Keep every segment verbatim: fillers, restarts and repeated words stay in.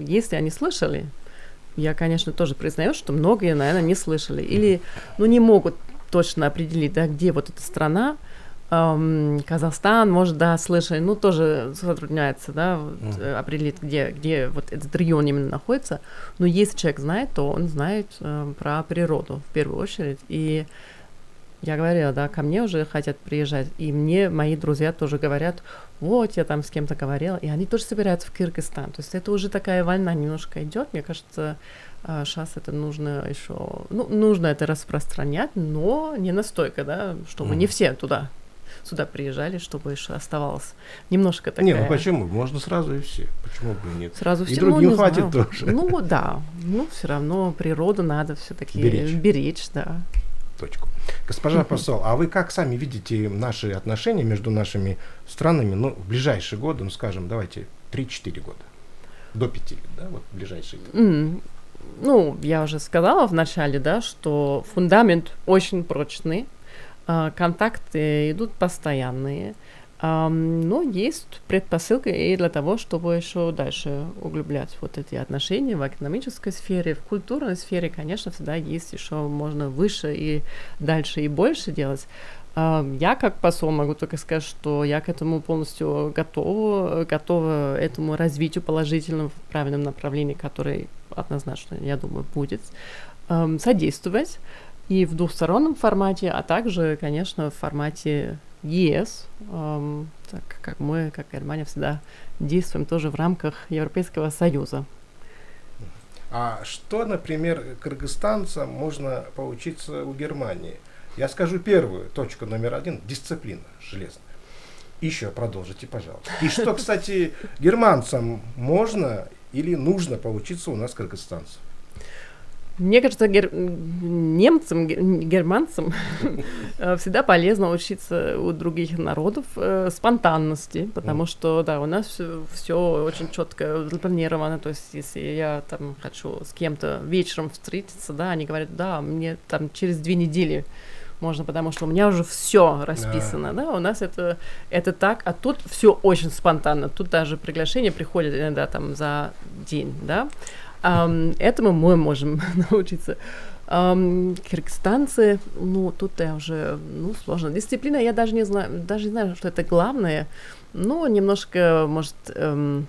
если они слышали, я, конечно, тоже признаю, что многие, наверное, не слышали или, ну, не могут точно определить, да, где вот эта страна. эм, Казахстан, может, да, слышали, ну, тоже затрудняется, да, вот, mm. определить, где, где вот этот регион именно находится. Но если человек знает, то он знает э, про природу в первую очередь. И я говорила, да, ко мне уже хотят приезжать, и мне мои друзья тоже говорят, вот, я там с кем-то говорила, и они тоже собираются в Кыргызстан. То есть это уже такая волна немножко идет. Мне кажется, сейчас это нужно еще, ну, нужно это распространять, но не настолько, да, чтобы mm. не все туда, сюда приезжали, чтобы еще оставалось немножко такая... Не, ну почему? Можно сразу и все. Почему бы и нет? Сразу все, и другим ну, хватит знаю. тоже. Ну, да, ну, все равно природу надо все-таки беречь, беречь да. Точку. Госпожа посол, а вы как сами видите наши отношения между нашими странами, ну, в ближайшие годы, ну, скажем, давайте, три-четыре года, до пяти лет, да, вот ближайшие годы? Mm. Ну, я уже сказала в начале, да, что фундамент очень прочный, э, контакты идут постоянные, э, но есть предпосылка и для того, чтобы еще дальше углублять вот эти отношения в экономической сфере, в культурной сфере, конечно, всегда есть еще можно выше и дальше и больше делать. Э, я как посол могу только сказать, что я к этому полностью готова, готова этому развитию положительному в правильном направлении, который однозначно, я думаю, будет э, содействовать и в двухстороннем формате, а также, конечно, в формате ЕС, э, так как мы, как Германия, всегда действуем тоже в рамках Европейского Союза. А что, например, кыргызстанцам можно поучиться у Германии? Я скажу первую, точку номер один, дисциплина железная. Еще продолжите, пожалуйста. И что, кстати, германцам можно или нужно поучиться у нас кыргызстанцев? Мне кажется, гер... немцам, германцам всегда полезно учиться у других народов э, спонтанности, потому mm. что, да, у нас все очень четко запланировано. То есть, если я там хочу с кем-то вечером встретиться, да, они говорят, да, мне там через две недели можно, потому что у меня уже все расписано, да. да, у нас это, это так, а тут все очень спонтанно, тут даже приглашение приходит иногда там за день, да. Um, этому мы можем научиться. Um, кыргызстанцы, ну, тут я уже, ну, сложно. Дисциплина, я даже не знаю, даже не знаю, что это главное, но немножко, может, эм,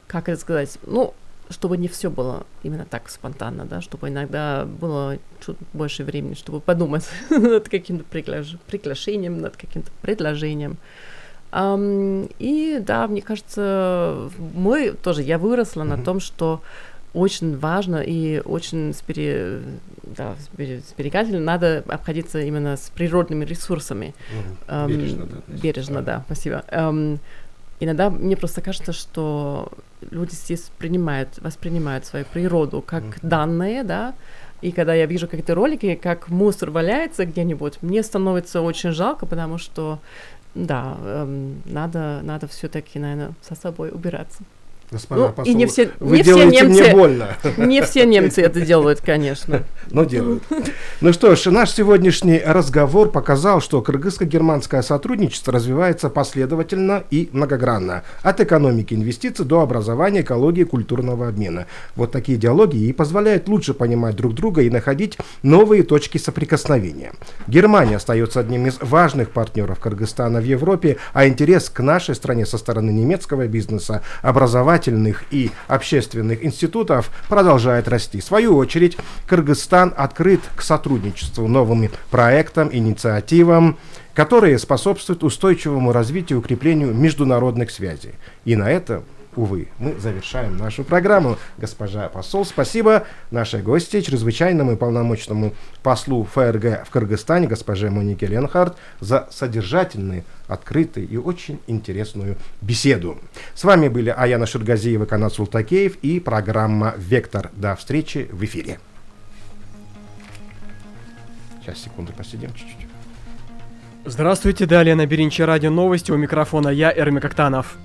как это сказать, ну, чтобы не все было именно так спонтанно, да, чтобы иногда было чуть больше времени, чтобы подумать над каким-то пригла- приглашением, над каким-то предложением. Um, и, да, мне кажется, мы тоже, я выросла mm-hmm. на том, что очень важно и очень спери, да, сберегательно надо обходиться именно с природными ресурсами. Mm-hmm. Um, бережно, да. Бережно, да, спасибо. Um, иногда мне просто кажется, что люди здесь принимают, воспринимают свою природу как mm-hmm. данное, да, и когда я вижу какие-то ролики, как мусор валяется где-нибудь, мне становится очень жалко, потому что, да, эм, надо, надо все-таки, наверное, со собой убираться. Господа ну, посол, и не все, вы не делаете все немцы, мне больно. Не все немцы это делают, конечно. Но делают. Ну что ж, наш сегодняшний разговор показал, что кыргызско-германское сотрудничество развивается последовательно и многогранно. От экономики, инвестиций до образования, экологии, культурного обмена. Вот такие диалоги и позволяют лучше понимать друг друга и находить новые точки соприкосновения. Германия остается одним из важных партнеров Кыргызстана в Европе, а интерес к нашей стране со стороны немецкого бизнеса, образовательных и общественных институтов продолжает расти. В свою очередь, Кыргызстан открыт к сотрудничеству, новым проектам, инициативам, которые способствуют устойчивому развитию и укреплению международных связей. И на этом, увы, мы завершаем нашу программу. Госпожа посол, спасибо нашей гости, чрезвычайному и полномочному послу ФРГ в Кыргызстане, госпоже Монике Ленхард, за содержательный, открытый и очень интересную беседу. С вами были Аяна Ширгазиева, Канат Султакеев и программа «Вектор». До встречи в эфире. Сейчас, секунду, посидим чуть-чуть. Здравствуйте, далее на Беринче радио новости, у микрофона я, Эрмик Актанов.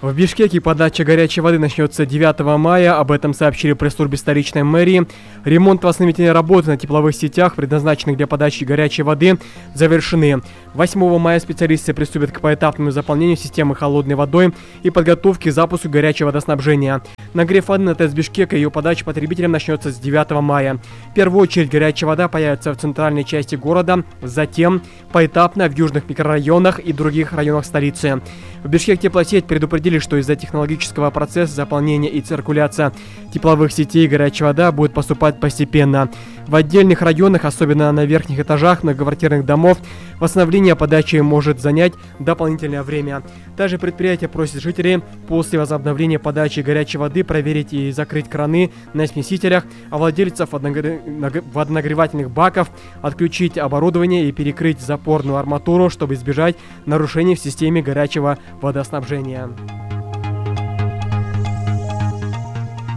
В Бишкеке подача горячей воды начнется девятого мая, об этом сообщили в пресс-службе столичной мэрии. Ремонт и восстановительные работы на тепловых сетях, предназначенных для подачи горячей воды, завершены. восьмого мая специалисты приступят к поэтапному заполнению системы холодной водой и подготовке к запуску горячего водоснабжения. Нагрев воды на ТЭЦ Бишкека и ее подача потребителям начнется с девятого мая. В первую очередь горячая вода появится в центральной части города, затем поэтапно в южных микрорайонах и других районах столицы. В Бишкек-теплосеть предупредили, что из-за технологического процесса заполнения и циркуляции тепловых сетей горячая вода будет поступать постепенно. В отдельных районах, особенно на верхних этажах многоквартирных домов, восстановление подачи может занять дополнительное время. Также предприятие просит жителей после возобновления подачи горячей воды проверить и закрыть краны на смесителях, а владельцев водонагревательных баков отключить оборудование и перекрыть запорную арматуру, чтобы избежать нарушений в системе горячего водоснабжения.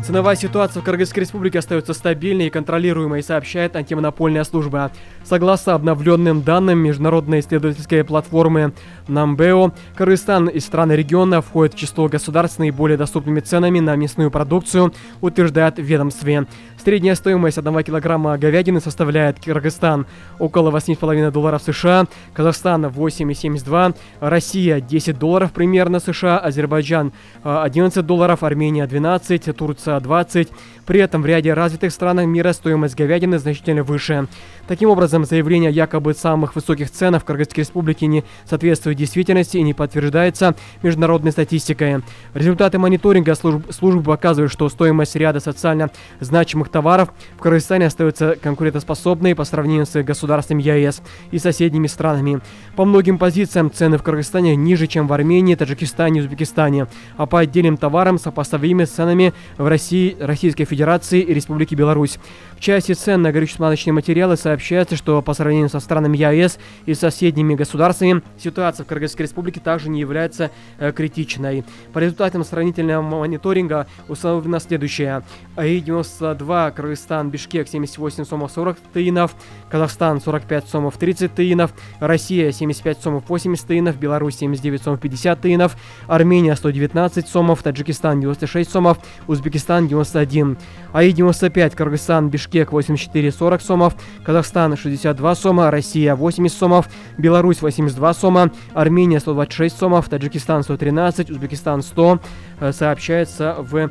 Ценовая ситуация в Кыргызской республике остается стабильной и контролируемой, сообщает антимонопольная служба. Согласно обновленным данным международной исследовательской платформы Намбео, Кыргызстан из стран региона входит в число государств с наиболее доступными ценами на мясную продукцию, утверждает в ведомстве. Средняя стоимость одного килограмма говядины составляет Кыргызстан около восемь с половиной долларов США, Казахстан восемь и семьдесят два, Россия десять долларов примерно США, Азербайджан одиннадцать долларов, Армения двенадцать, Турция двадцать. При этом в ряде развитых стран мира стоимость говядины значительно выше. Таким образом, заявление о якобы самых высоких ценах в Кыргызской республике не соответствует действительности и не подтверждается международной статистикой. Результаты мониторинга служб, службы показывают, что стоимость ряда социально значимых товаров в Кыргызстане остается конкурентоспособной по сравнению с государствами ЕС и соседними странами. По многим позициям цены в Кыргызстане ниже, чем в Армении, Таджикистане и Узбекистане, а по отдельным товарам сопоставимы с ценами в России, Российской Федерации и Республике Беларусь. В части цен на горюче-смазочные материалы сообщается, что по сравнению со странами ЕС и соседними государствами ситуация в Кыргызской республике также не является э, критичной. По результатам сравнительного мониторинга установлено следующее. АИ девяносто два, Кыргызстан, Бишкек семьдесят восемь сомов сорок тыинов, Казахстан сорок пять сомов тридцать тыинов, Россия семьдесят пять сомов восемьдесят тыинов, Беларусь семьдесят девять сомов пятьдесят тыинов, Армения сто девятнадцать сомов, Таджикистан девяносто шесть сомов, Узбекистан девяносто один. АИ девяносто пять, Кыргызстан, Бишкек восемьдесят четыре сорок сомов, Казахстан шестьдесят два сома, Россия восемьдесят сомов, Беларусь восемьдесят два сома, Армения сто двадцать шесть сомов, Таджикистан сто тринадцать, Узбекистан сто, сообщается в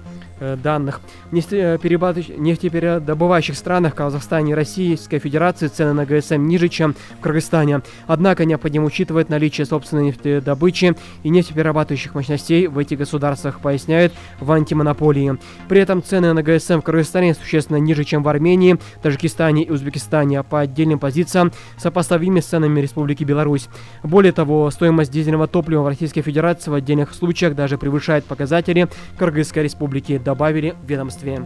данных. В нефтепередобывающих странах Казахстане и Российской Федерации цены на ГСМ ниже, чем в Кыргызстане. Однако необходимо учитывать наличие собственной нефтедобычи и нефтеперерабатывающих мощностей в этих государствах, поясняют в антимонополии. При этом цены на ГСМ в Кыргызстане существенно ниже, чем в Армении, Таджикистане и Узбекистане, а по отдельным позициям сопоставимы с ценами Республики Беларусь. Более того, стоимость дизельного топлива в Российской Федерации в отдельных случаях даже превышает показатели Кыргызской Республики, добавили в ведомстве.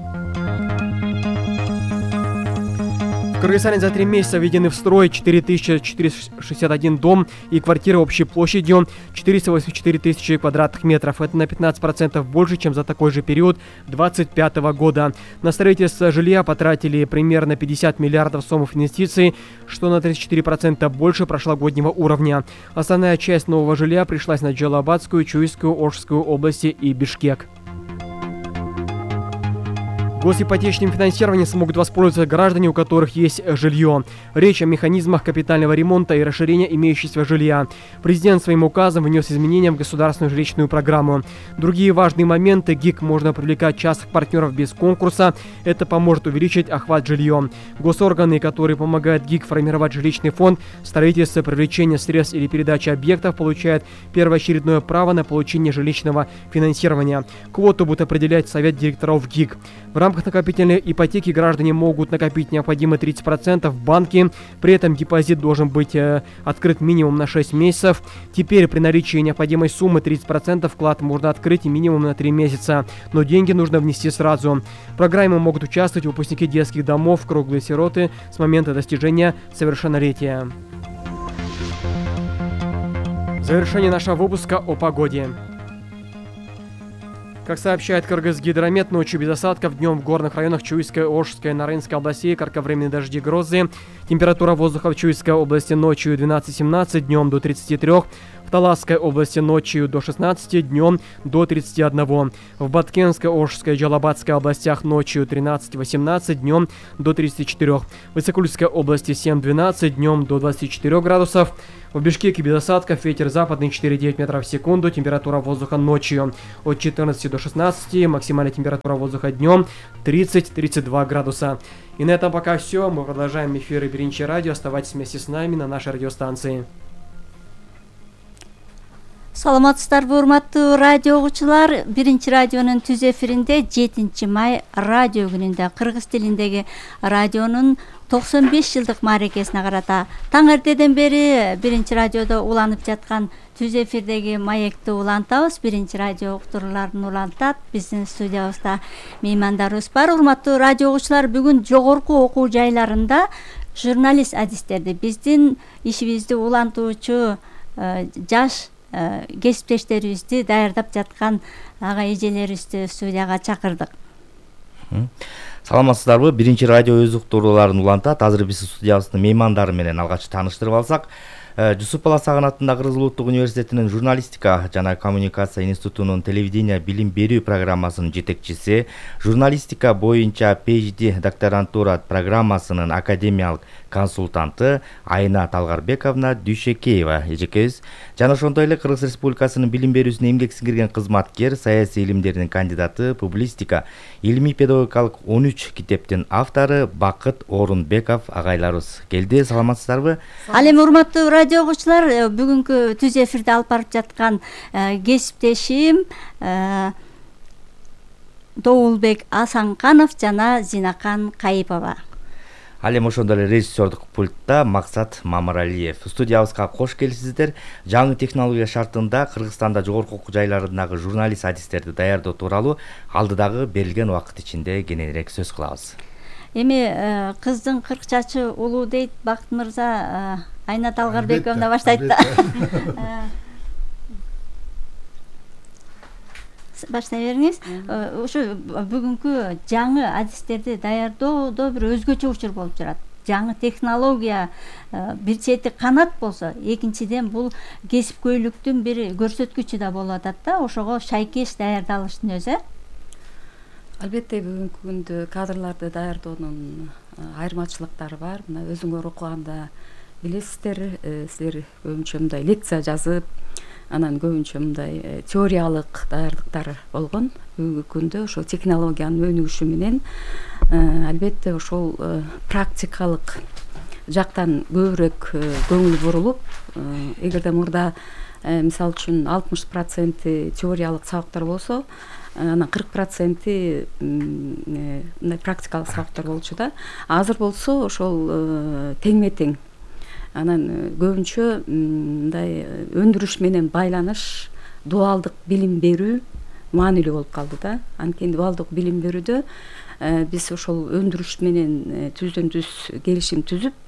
В Кыргызстане за три месяца введены в строй четыре тысячи четыреста шестьдесят один дом и квартиры общей площадью четыреста восемьдесят четыре тысячи квадратных метров. Это на пятнадцать процентов больше, чем за такой же период две тысячи двадцать пятого года. На строительство жилья потратили примерно пятьдесят миллиардов сомов инвестиций, что на тридцать четыре процента больше прошлогоднего уровня. Основная часть нового жилья пришлась на Джалалабадскую, Чуйскую, Ошскую области и Бишкек. Госипотечным финансированием смогут воспользоваться граждане, у которых есть жилье. Речь о механизмах капитального ремонта и расширения имеющегося жилья. Президент своим указом внес изменения в государственную жилищную программу. Другие важные моменты: ГИК можно привлекать частных партнеров без конкурса. Это поможет увеличить охват жильем. Госорганы, которые помогают ГИК формировать жилищный фонд, строительство, привлечение средств или передачи объектов, получают первоочередное право на получение жилищного финансирования. Квоту будет определять Совет директоров ГИК. В рамках накопительной ипотеки граждане могут накопить необходимые тридцать процентов в банке. При этом депозит должен быть э, открыт минимум на шесть месяцев. Теперь при наличии необходимой суммы тридцать процентов вклад можно открыть минимум на три месяца. Но деньги нужно внести сразу. В программе могут участвовать выпускники детских домов, круглые сироты с момента достижения совершеннолетия. Завершение нашего выпуска о погоде. Как сообщает Кыргызгидромет, ночью без осадков, днем в горных районах Чуйской, Ошской, Нарынской областей кратковременные дожди, грозы. Температура воздуха в Чуйской области ночью двенадцать-семнадцать, днем до тридцати трёх. В Таласской области ночью до шестнадцати, днем до тридцати одного. В Баткенской, Ошской и Джалабадской областях ночью тринадцать-восемнадцать, днем до тридцати четырёх. В Иссыкульской области семь-двенадцать, днем до двадцати четырёх градусов. В Бишкеке без осадков, ветер западный четыре-девять метров в секунду, температура воздуха ночью от четырнадцати до шестнадцати, максимальная температура воздуха днем тридцать-тридцать два градуса. И на этом пока все. Мы продолжаем эфиры Биринчи радио. Оставайтесь вместе с нами на нашей радиостанции. Саламатсыздарбы, урматтуу радио угуучулар. Биринчи радионун түз эфиринде жетинчи май радио күнүндө кыргыз тилиндеги радионун токсон беш жылдык мааракесине карата таң эртеден бери биринчи радиодо уланып жаткан түз эфирдеги маекти улантабыз. Биринчи радио уктурууларын улантат. Биздин студиябызда меймандарыбыз бар. Урматтуу радио угуучулар, бүгүн жогорку окуу жайларында журналист адистерди, биздин ишибизди улантуучу жаш кесиптештерибизди даярдап жаткан ага эжелерибизди студияга чакырдык. Саламатсыздарбы? Биринчи радио өз уктурууларын улантат. Азыр биз студиябыздын меймандары менен алгач тааныштырып алсак, Жусуп Бала Сагын атындагы Кыргыз Улуттук университетинин журналистика жана коммуникация институтунун телевидение билим берүү программасынын жетекчиси, журналистика боюнча PhD докторантура программасынын академиялык консультанты Айна Талгарбековна Дүйшекеева эжекебиз жана ошондой эле Кыргыз Республикасынын билим берүүсүнө эмгек сиңирген кызматкер, саясий илимдердин кандидаты, публистика, илимий педагогикалык он үч китептин автору Бакыт Орунбеков агайларыбыз келди. Саламатсыздарбы? Ал эми урматтуу радио угуучулар, бүгүнкү түз эфирде алып барып жаткан кесиптешим Доулбек Асанканов жана Зинакан Кайыпова. Ал эми ошондой эле режиссердук пультта Максат Мамыралиев. Студиябызга кош келипсиздер. Жаңы технология шартында Кыргызстанда жогорку окуу жайларындагы журналист адистерди даярдоо тууралуу алдыдагы берилген убакыт ичинде кененирээк сөз кылабыз. Эми кыздын кырк чачы улуу дейт Бакыт мырза. Айна Талгарбековна баштайт да. Баштай бериңиз. Ошо бүгүнкү жаңы адистерди даярдоодо бир өзгөчө учур болуп турат. Жаңы технология бир чети канат болсо, экинчиден бул кесипкөйлүктүн бир көрсөткүчү да болуп атат да. Ошого шайкеш даярдалыштын өзү. Албетте бүгүнкү күндө кадрларды даярдоонун айырмачылыктары бар. Мына өзүңөр окуганда билесиздер, силер көбүнчө мындай лекция жазып, анан көбүнчө мындай теориялык даярдыктар болгон. Бүгүнкү күндө ошол технологиянын өнүгүшү менен албетте ошол практикалык жактан көбүрөөк көңүл бурулуп, эгерде мурда мисалы үчүн алтымыш проценти теориялык сабактар болсо, анан кырк проценти мындай практикалык сабактар болчу да. Азыр болсо ошол теңме-тең. Анан көбүнчө мындай өндүрүш менен байланыш, дуалдык билим берүү маанилүү болуп калды да. Анткени дуалдык билим берүүдө биз ошол өндүрүш менен түздөн түз келишим түзүп,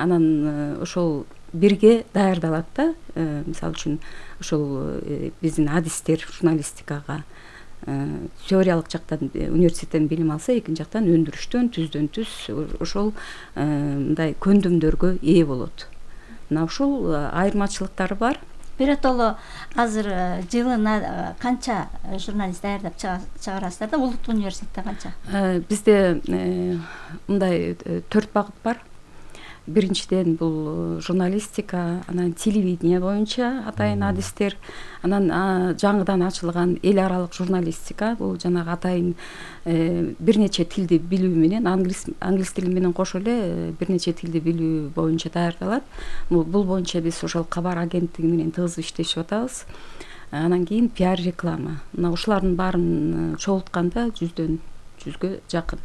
анан ошол бирге даярдалат да. Мисалы үчүн ошол биздин адистер журналистикага теориялык жактан университеттен билим алса, экинчи жактан өндүрүштөн түздөн түз ошол мындай көндүмдөргө ээ болот. Мына ушул айырмачылыктары бар. Биротоло азыр жылына канча журналист даярдап чыгарасыздар да? Улуттук университетте канча? Бизде мындай төрт багыт бар. Биринчиден бул журналистика, анан телевидение боюнча атайын адистер, анан жаңыдан ачылган эл аралык журналистика, бул жанагы атайын бир нече тилди билүү менен, англис англис тили менен кошо эле бир нече тилди билүү боюнча даярдалат. Бул боюнча биз ошол кабар агенттиги менен тыгыз иштешип атабыз. Анан кийин пиар реклама. Мына ушулардын баарын чогултканда жүздөн жүзгө жакын.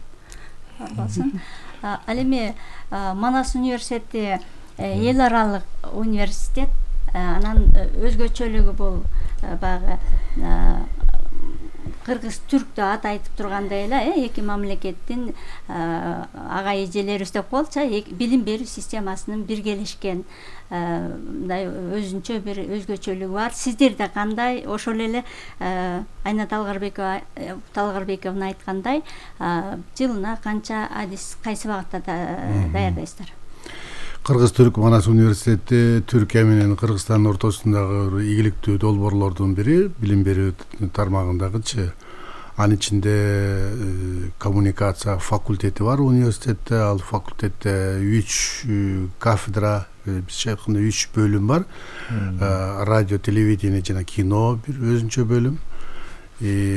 Болсун. Ал эми Манас университети эл аралык университет, анан өзгөчөлүгү бул баягы кыргыз түрк деп ат айтып тургандай эле эки мамлекеттин ага эжелерибиз деп коелучу, билим берүү системасынын биргелешкен мындай өзүнчө бир өзгөчөлүгү бар. Сиздерде кандай? Ошол эле Айна Талгарбекова Талгарбековна айткандай, жылына канча адис кайсы багытта даярдайсыздар? Кыргыз-Түрк Манас университети Түркия менен Кыргызстандын ортосундагы ийгиликтүү долбоорлордун бири билим берүү тармагындагычы. Анын ичинде коммуникация факультети бар университетте. Ал факультетте үч кафедра, бизче айтканда үч бөлүм бар. Радио, телевидение жана кино бир өзүнчө бөлүм.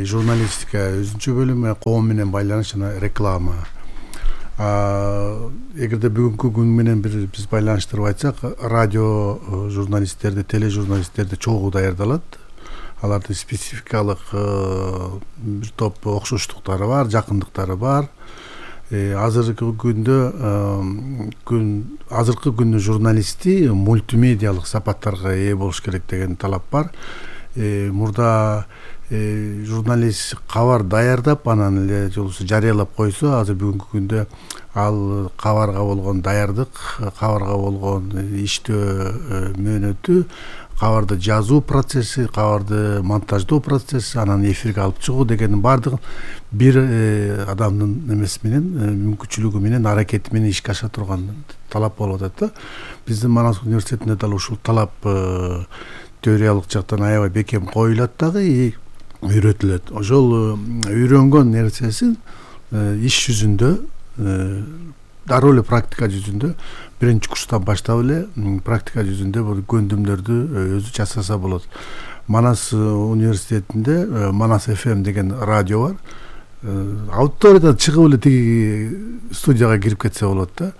Журналистика өзүнчө бөлүм, коом менен байланыш жана реклама. Эгерде бүгүнкү күн менен бир биз байланыштырып айтсак, радио журналисттерди, тележурналисттерди чогуу даярдалат. Алардын спецификалык бир топ окшоштуктары бар, жакындыктары бар. Азыркы күндө күн азыркы күндүн журналисти мультимедиалык сапаттарга ээ болуш керек деген талап бар. Мурда журналист кабар даярдап, анан эле жолусу жарыялап койсо, азыр бүгүнкү күндө ал кабарга болгон даярдык, кабарга болгон иштөө мөөнөтү, кабарды жазуу процесси, кабарды монтаждоо процесси, анан эфирге алып чыгуу дегенин баардыгын бир адамдын эмеси менен, мүмкүнчүлүгү менен, аракети менен ишке аша турган талап болуп атат да. Биздин Манас университетинде дал ушул талап теориялык жактан аябай бекем коюлат дагы, үйрөтүлөт. Ошол үйрөнгөн нерсесин иш жүзүндө, дароо эле практика жүзүндө биринчи курстан баштап эле практика жүзүндө бул көндүмдөрдү өзү жасаса болот. Манас университетинде Манас эф эм деген радио бар. Аудиториядан чыгып эле тиги студияга кирип кетсе болот да.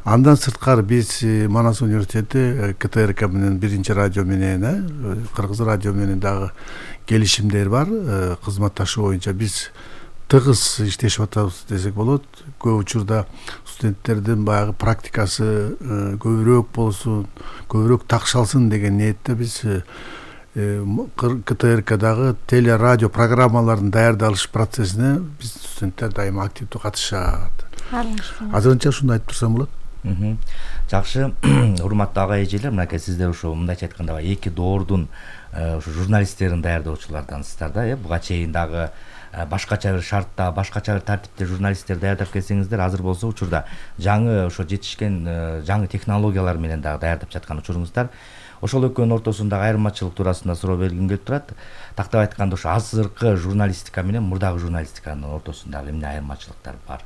Андан сырткары биз Манас университети ка тэ эр ка менен биринчи радио менен, Кыргыз радио менен дагы келишимдер бар. Кызматташуу боюнча биз тыгыз иштешип атабыз десек болот. Көп учурда студенттердин баягы практикасы көбүрөөк болсун, көбүрөөк такшалсын деген ниетте биз ка тэ эр кадагы теле радио программаларын даярдалыш процессине биз студенттер дайыма активдүү катышат. Азырынча ушундай айтып турсам болот. Жакшы, урматтуу ага эжелер, мынакей сиздер ушу мындайча айтканда эки доордун ушу журналисттерин даярдоочулардаnsыздар да, э, буга чейин дагы башкача бир шартта, башкача бир тартипте журналисттер даярдап келсеңиздер, азыр болсо учурда жаңы ошо жетишкен жаңы технологиялар менен дагы даярдап жаткан учуруңуздар. Ошол экөөнүн ортосундагы айырмачылык туурасында суроо бергим келип турат. Тактап айтканда, ошо азыркы журналистика менен мурдагы журналистиканын ортосундагы эмне айырмачылыктар бар?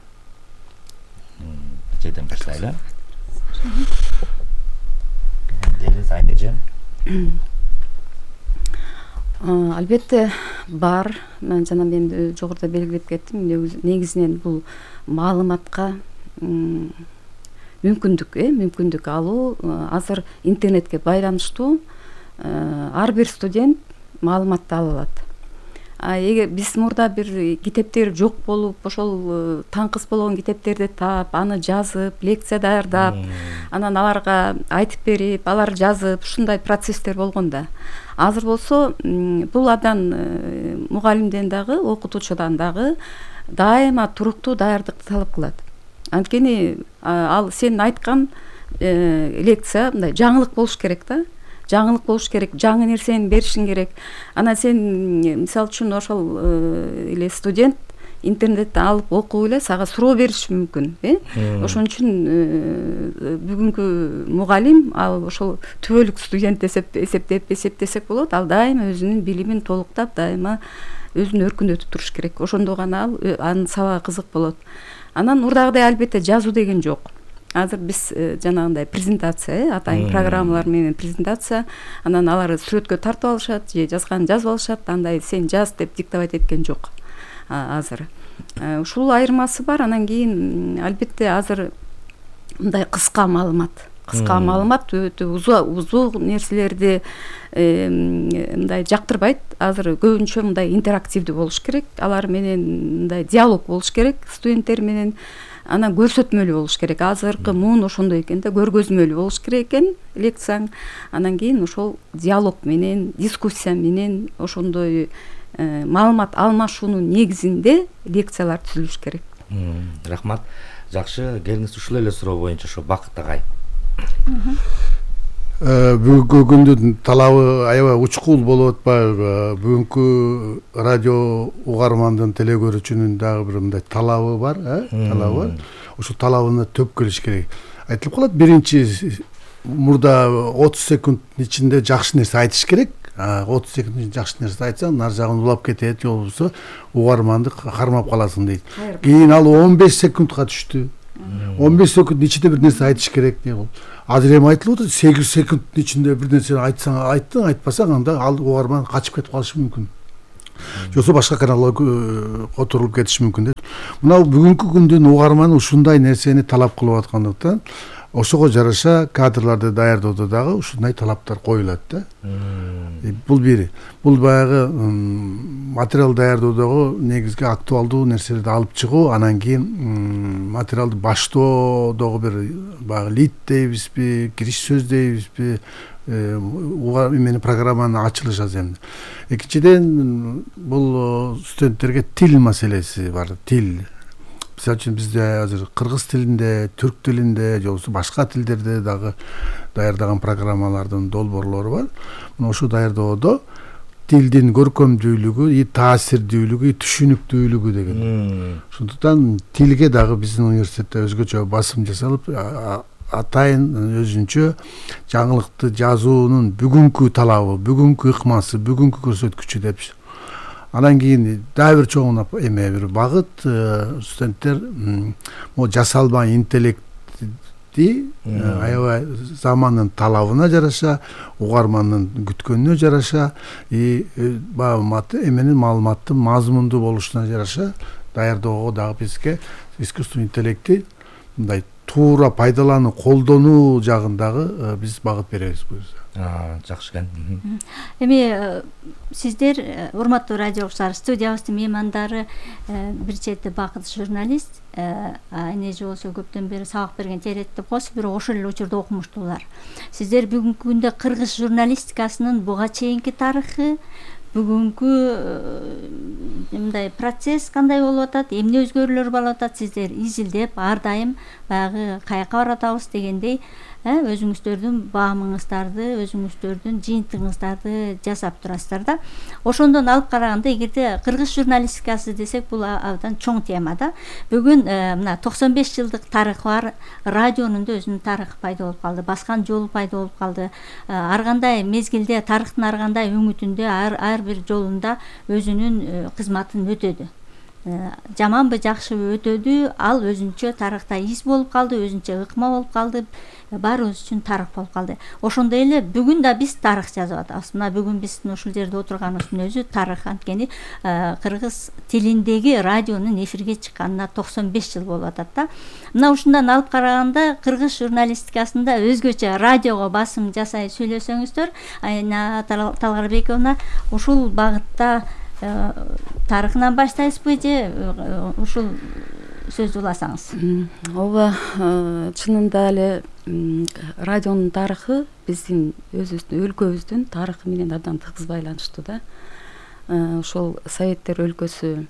Жеден баштайлы. Дениз Айнеже. Албетте бар. Мен жана мен жогоруда белгилеп кеттим. Негизинен бул маалыматка мүмкүндүк, э, мүмкүндүк алуу. Азыр интернетке байланыштуу ар бир студент маалыматты ала алат. Эгер биз мурда бир китептер жок болуп, ошол таңкыс болгон китептерди таап, аны жазып, лекция даярдап, анан аларга айтып берип, алар жазып, ушундай процесстер болгон да. Азыр болсо бул абдан мугалимден дагы, окутуучудан дагы дайыма туруктуу даярдыкты талап кылат. Анткени ал сен айткан лекция мындай жаңылык болуш керек да. Жаңылык болуш керек, жаңы нерсени беришиң керек. Анан сен мисалы үчүн ошол эле студент интернеттен алып окуп эле сага суроо бериши мүмкүн, э? Ошон үчүн бүгүнкү мугалим ал ошол түбөлүк студент десеп эсептеп эсептесек болот. Ал дайыма өзүнүн билимин толуктап, дайыма өзүн өркүндөтүп туруш керек. Ошондо гана ал анын сабагы кызык болот. Анан мурдагыдай албетте жазуу деген жок. Азыр биз жанагындай презентация, атайын программалар менен презентация, анан алар сүрөткө тартып алышат, же жазганын жазып алышат, андай сен жаз деп диктовать эткен жок азыр. Ушул айырмасы бар. Анан кийин албетте азыр мындай кыска маалымат, кыска маалымат өтө узун нерселерди мындай жактырбайт. Азыр көбүнчө мындай интерактивдүү болуш керек. Алар менен мындай диалог болуш керек студенттер менен. Анан көрсөтмөлүү болуш керек. Азыркы муун ошондой экен да, көргөзмөлүү болуш керек экен лекцияң. Анан кийин ошол диалог менен, дискуссия менен ошондой маалымат алмашуунун негизинде лекциялар түзүлүш керек. Рахмат. Жакшы, келиңиз ушул эле суроо боюнча ошо Бакыт агай. Бүгүнкү күндүн талабы аябай учкул болуп атпайбы? Бүгүнкү радио угармандын, теле көрүүчүнүн дагы бир мындай талабы бар, э? Талабы бар. Ошол талабына төп келиш керек. айтылып калат. Биринчи мурда отуз секундтун ичинде жакшы нерсе айтыш керек. отуз секундтун ичинде жакшы нерсе айтсаң, нар жагын улап кетет, же болбосо угарманды кармап каласың дейт. Кийин ал он беш секундка түштү. он беш секундтун ичинде бир нерсе айтыш керек деп. Азыр эми айтылып атат, сегиз секундтун ичинде бир нерсени айтсаң, айттың, айтпасаң, анда ал угарман качып кетип калышы мүмкүн. Жоксо башка каналга которулуп кетиши мүмкүн дейт. Мына бүгүнкү күндүн угарманы ушундай нерсени талап кылып аткандыктан, ошого жараша кадрларды даярдоодо дагы ушундай талаптар коюлат да. Бул бири. Бул баягы материал даярдоодогу негизги актуалдуу нерселерди алып чыгуу, анан кийин материалды баштоодогу бир баягы лид дейбизби, кириш сөз дейбизби, эмени программанын ачылыш аземди. Экинчиден, бул студенттерге тил маселеси бар, тил. Мисалы үчүн бизде азыр кыргыз тилинде, түрк тилинде, же болбосо башка тилдерде дагы даярдаган программалардын долбоорлору бар. Мына ошо даярдоодо тилдин көркөмдүүлүгү, таасирдүүлүгү, түшүнүктүүлүгү деген. Ошондуктан тилге дагы биздин университетте өзгөчө басым жасалып, атайын өзүнчө жаңылыкты жазуунун бүгүнкү талабы, бүгүнкү ыкмасы, бүгүнкү көрсөткүчү деп. Анан кийин дагы бир чоң эме бир багыт, студенттер могу жасалма интеллектти аябай замандын талабына жараша, угармандын күткөнүнө жараша, и маалыматты эменин маалыматтын мазмундуу болушуна жараша даярдоого дагы бизге искусственный интеллектти мындай туура пайдалануу, колдонуу жагындагы биз багыт беребиз буюрса. Жакшы экен. Эми сиздер, урматтуу радио угуучулар, студиябыздын меймандары бир чети бакыт журналист, эне же болсо көптөн бери сабак берген теретти косуп, бирок ошол эле учурда окумуштуулар. Сиздер бүгүнкү күндө кыргыз журналистикасынын буга чейинки тарыхы, бүгүнкү мындай процесс кандай болуп атат, эмне өзгөрүүлөр болуп атат, сиздер изилдеп ар дайым баягы каяка баратабыз дегендей өзүңүздөрдүн баамыңыздарды, өзүңүздөрдүн жыйынтыгыңыздарды жасап турасыздар да. Ошондон алып караганда, эгерде кыргыз журналистикасы десек, бул абдан чоң тема да. Бүгүн мына токсон беш жылдык тарыхы бар радионун да өзүнүн тарыхы пайда болуп калды, баскан жолу пайда болуп калды. Ар кандай мезгилде, тарыхтын ар кандай үңүтүндө, ар ар бир жолунда өзүнүн кызматын өтөдү. Жаманбы, жакшыбы өтөдү, ал өзүнчө тарыхта из болуп калды, өзүнчө ыкма болуп калды, баарыбыз үчүн тарых болуп калды. Ошондой эле бүгүн да биз тарых жазып атабыз. Мына бүгүн биздин ушул жерде отурганыбыздын өзү тарых, анткени кыргыз тилиндеги радионун эфирге чыкканына токсон беш жыл болуп атат да. Мына ушундан алып караганда, кыргыз журналистикасында өзгөчө радиого басым жасай сүйлөсөңүздөр, Айна Талгарбековна, ушул багытта тарыхынан баштайсызбы же ушул сөз уласаңыз? Ооба, чынында эле радионун тарыхы биздин өзүбүздүн өлкөбүздүн тарыхы менен абдан тыгыз байланыштуу да. Ошол Советтер өлкөсү,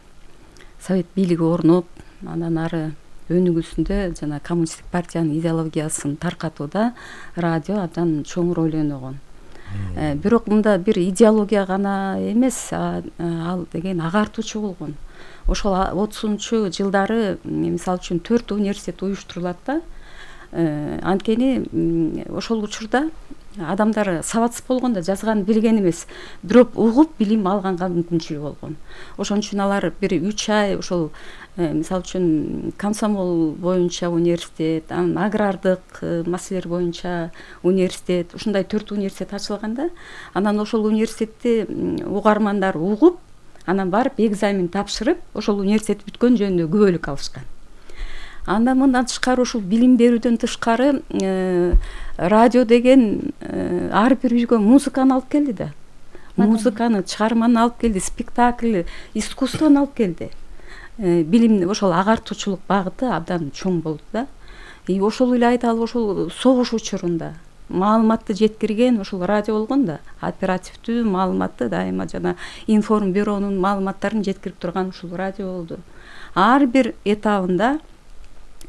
Совет бийлиги орноп, андан ары өнүгүүсүндө жана коммунисттик партиянын идеологиясын таркатууда радио абдан чоң роль өнөгөн. Бирок мында бир идеология гана эмес, ал деген агартуучу болгон. Ошол отузунчу жылдары мисалы үчүн төрт университет уюштурулат да. Анткени ошол учурда адамдар сабатсыз болгондо жазган билген эмес, бирок угуп билим алганга мүмкүнчүлүгү болгон. Ошон үчүн алар бир үч ай ошол мисалы үчүн комсомол боюнча университет, анан агрардык маселелер боюнча университет, ушундай төрт университет ачылганда, анан ошол университетти угармандар угуп, анан барып экзамен тапшырып, ошол университет бүткөн жөнүндө күбөлүк алышкан. Андан мындан тышкары, ушул билим берүүдөн тышкары радио деген ар бир үйгө музыканы алып келди да. Музыканы, чыгарманы алып келди, спектакль, искусствону алып келди. Билим ошол агартуучулук багыты абдан чоң болду да. И ошол эле айталы, ошол согуш учурунда маалыматты жеткирген ошол радио болгон да. Оперативдүү маалыматты дайыма жана информ бюронун маалыматтарын жеткирип турган ушул радио болду. Ар бир этабында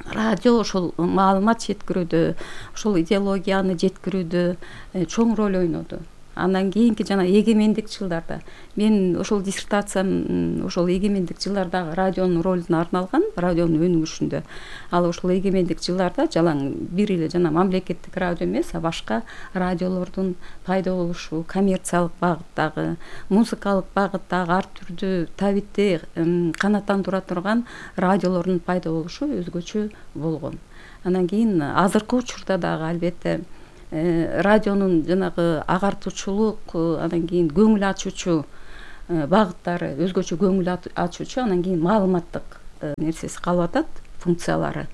радио ошол маалымат жеткирүүдө, ошол идеологияны жеткирүүдө чоң роль ойноду. Андан кийинки жана эгемендик жылдарда мен ошол диссертациям ошол эгемендик жылдардагы радионун ролуна арналган, радионун өнүгүшүндө. Ал ошол эгемендик жылдарда жалаң бир эле жана мамлекеттик радио эмес, а башка радиолордун пайда болушу, коммерциялык багыттагы, музыкалык багыттагы ар түрдүү табитти канааттандыра турган радиолордун пайда болушу өзгөчө болгон. Андан кийин азыркы учурда дагы албетте радионун жанагы агартуучулук, анан кийин көңүл ачуучу багыттары, өзгөчө көңүл ачуучу, анан кийин маалыматтык нерсеси калып атат, функциялары.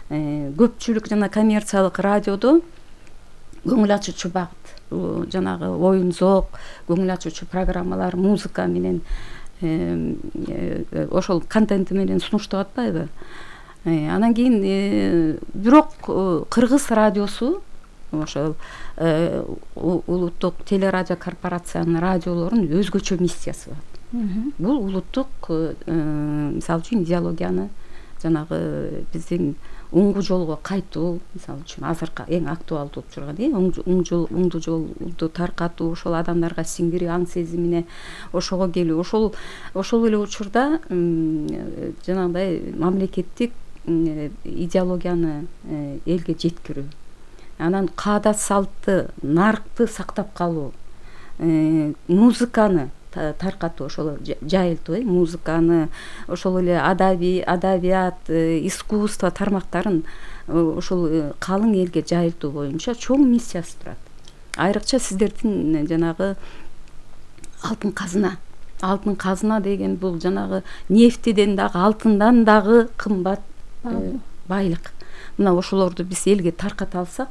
Көпчүлүк жана коммерциялык радиодо көңүл ачуучу багыт, жанагы оюн зоок, көңүл ачуучу программалар, музыка менен ошол контенти менен сунуштап атпайбы? Анан кийин бирок кыргыз радиосу ошол улуттук телерадио корпорациянын радиолорунун өзгөчө миссиясы бар. Бул улуттук мисалы үчүн идеологияны, жанагы биздин оңгу жолго кайтуу, мисалы үчүн азыркы эң актуалдуу болуп турган оңду жолду таркатуу, ошол адамдарга сиңдирүү аң сезимине ошого келүү, ошол ошол эле учурда жанагындай мамлекеттик идеологияны элге жеткирүү, анан каада салтты, наркты сактап калуу, музыканы таркатуу, ошол жайылтуу, музыканы, ошол эле адабий, адабият, искусство тармактарын ошол калың элге жайылтуу боюнча чоң миссиясы турат. Айрыкча сиздердин жанагы алтын казына, алтын казына деген бул жанагы нефтиден дагы, алтындан дагы кымбат байлык. Мына ошолорду биз элге тарката алсак,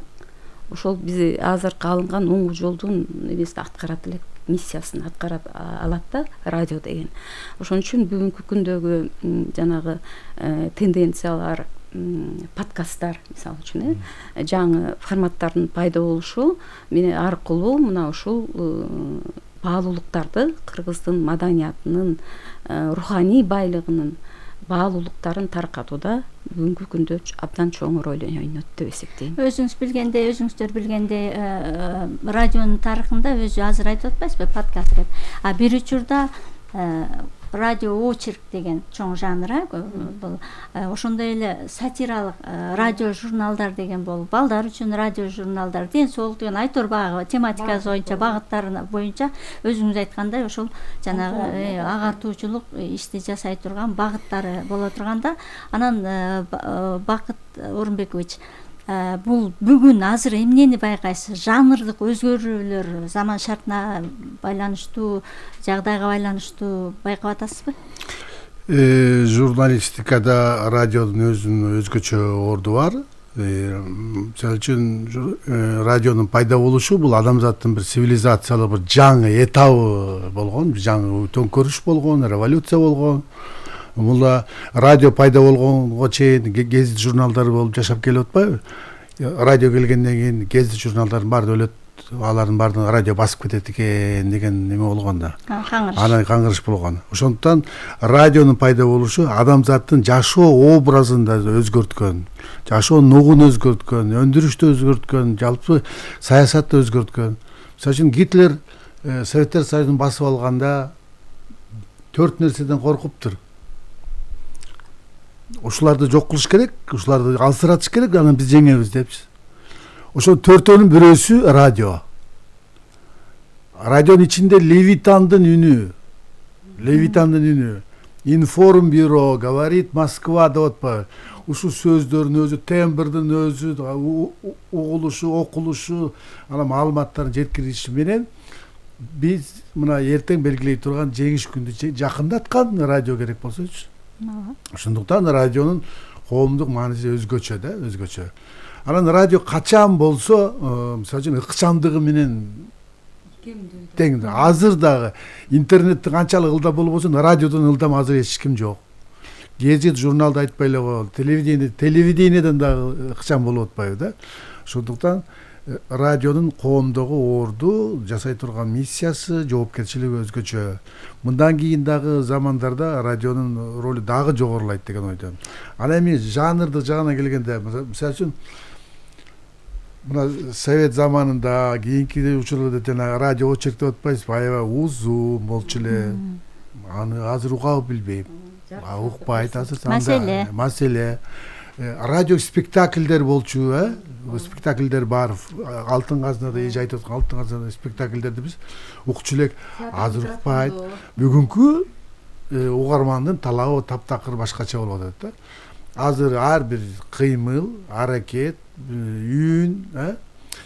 ошол биз азыркы алынган оңгу жолдун эмесин аткарат элек, миссиясын аткара алат да радио деген. Ошон үчүн бүгүнкү күндөгү жанагы тенденциялар, подкасттар мисалы үчүн жаңы форматтардын пайда болушу менен аркылуу мына ушул баалуулуктарды, кыргыздын маданиятынын, руханий байлыгынын баалуулуктарын таркатууда бүгүнкү күндө абдан чоң роль ойнойт деп эсептейм. Өзүңүз билгендей, өзүңүздөр билгендей, радионун тарыхында өзү азыр айтып атпайсызбы, подкаст деп. А бир учурда радио очерк деген чоң жанр, бул ошондой эле сатиралык радио журналдар деген болуп, балдар үчүн радио журналдар, ден соолук деген айтор багы тематикасы боюнча, багыттары боюнча өзүңүз айткандай ошол жанагы агартуучулук ишти жасай турган багыттары боло турганда, анан Бакыт Орунбекович, бул бүгүн азыр эмнени байкайсыз? Жанрдык өзгөрүүлөр заман шартына байланыштуу, жагдайга байланыштуу байкап атасызбы? Журналистикада радиодун өзүнүн өзгөчө орду бар. Мисалы үчүн радионун пайда болушу бул адамзаттын бир цивилизациялык бир жаңы этабы болгон, жаңы төңкөрүш болгон, революция болгон. Бул радио пайда болгонго чейин гезит журналдары болуп жашап келип атпайбы? Радио келгенден кийин гезит журналдардын баары өлөт, алардын баарын радио басып кетет экен деген неме болгон да. Анан каңгырыш болгон. Ошондуктан радионун пайда болушу адамзаттын жашоо образын да өзгөрткөн, жашоо нугун өзгөрткөн, өндүрүштү өзгөрткөн, жалпы саясатты өзгөрткөн. Мисалы үчүн Гитлер Советтер Союзун басып алганда төрт нерседен коркуптур. Ушуларды жок кылыш керек, ушуларды алсыратыш керек, анан биз жеңебиз депчи. Ошол төртөөнүн бирөөсү радио. Радионун ичинде Левитандын үнү, Левитандын үнү, информбюро, говорит Москва деп атпайбы? Ушул сөздөрдүн өзү, тембрдин өзү, угулушу, окулушу, анан маалыматтарын жеткириши менен биз мына эртең белгилей турган жеңиш күндү жакындаткан радио керек болсочу. Ошондуктан радионун коомдук мааниси өзгөчө да, өзгөчө. Анан радио качан болсо, мисалы үчүн ыкчамдыгы менен тең. Азыр дагы интернеттин канчалык ылдам болбосун, радиодон ылдам азыр эч ким жок. Гезит, журналды айтпай эле коелу, телевидение, телевидениеден дагы ыкчам болуп атпайбы да. Ошондуктан радионун коомдогу орду, жасай турган миссиясы, жоопкерчилиги өзгөчө. Мындан кийин дагы замандарда радионун ролу дагы жогорулайт деген ойдомун. Анан эми жанрдык жагына келгенде, мисалы үчүн мына совет заманында кийинки учурларда жана радио очерк деп атпайсызбы, аябай узун болчу эле. Аны азыр угабы билбейм. Укпайт азыр. Маселе. Маселе. Радио спектакльдер болчу, э? Спектакльдер бар. Алтын казнада эже айтып аткан алтын казнада спектакльдерди биз укчу элек. Азыр укпайт. Бүгүнкү угармандын талабы таптакыр башкача болуп атат да. Азыр ар бир кыймыл, аракет, үн, э?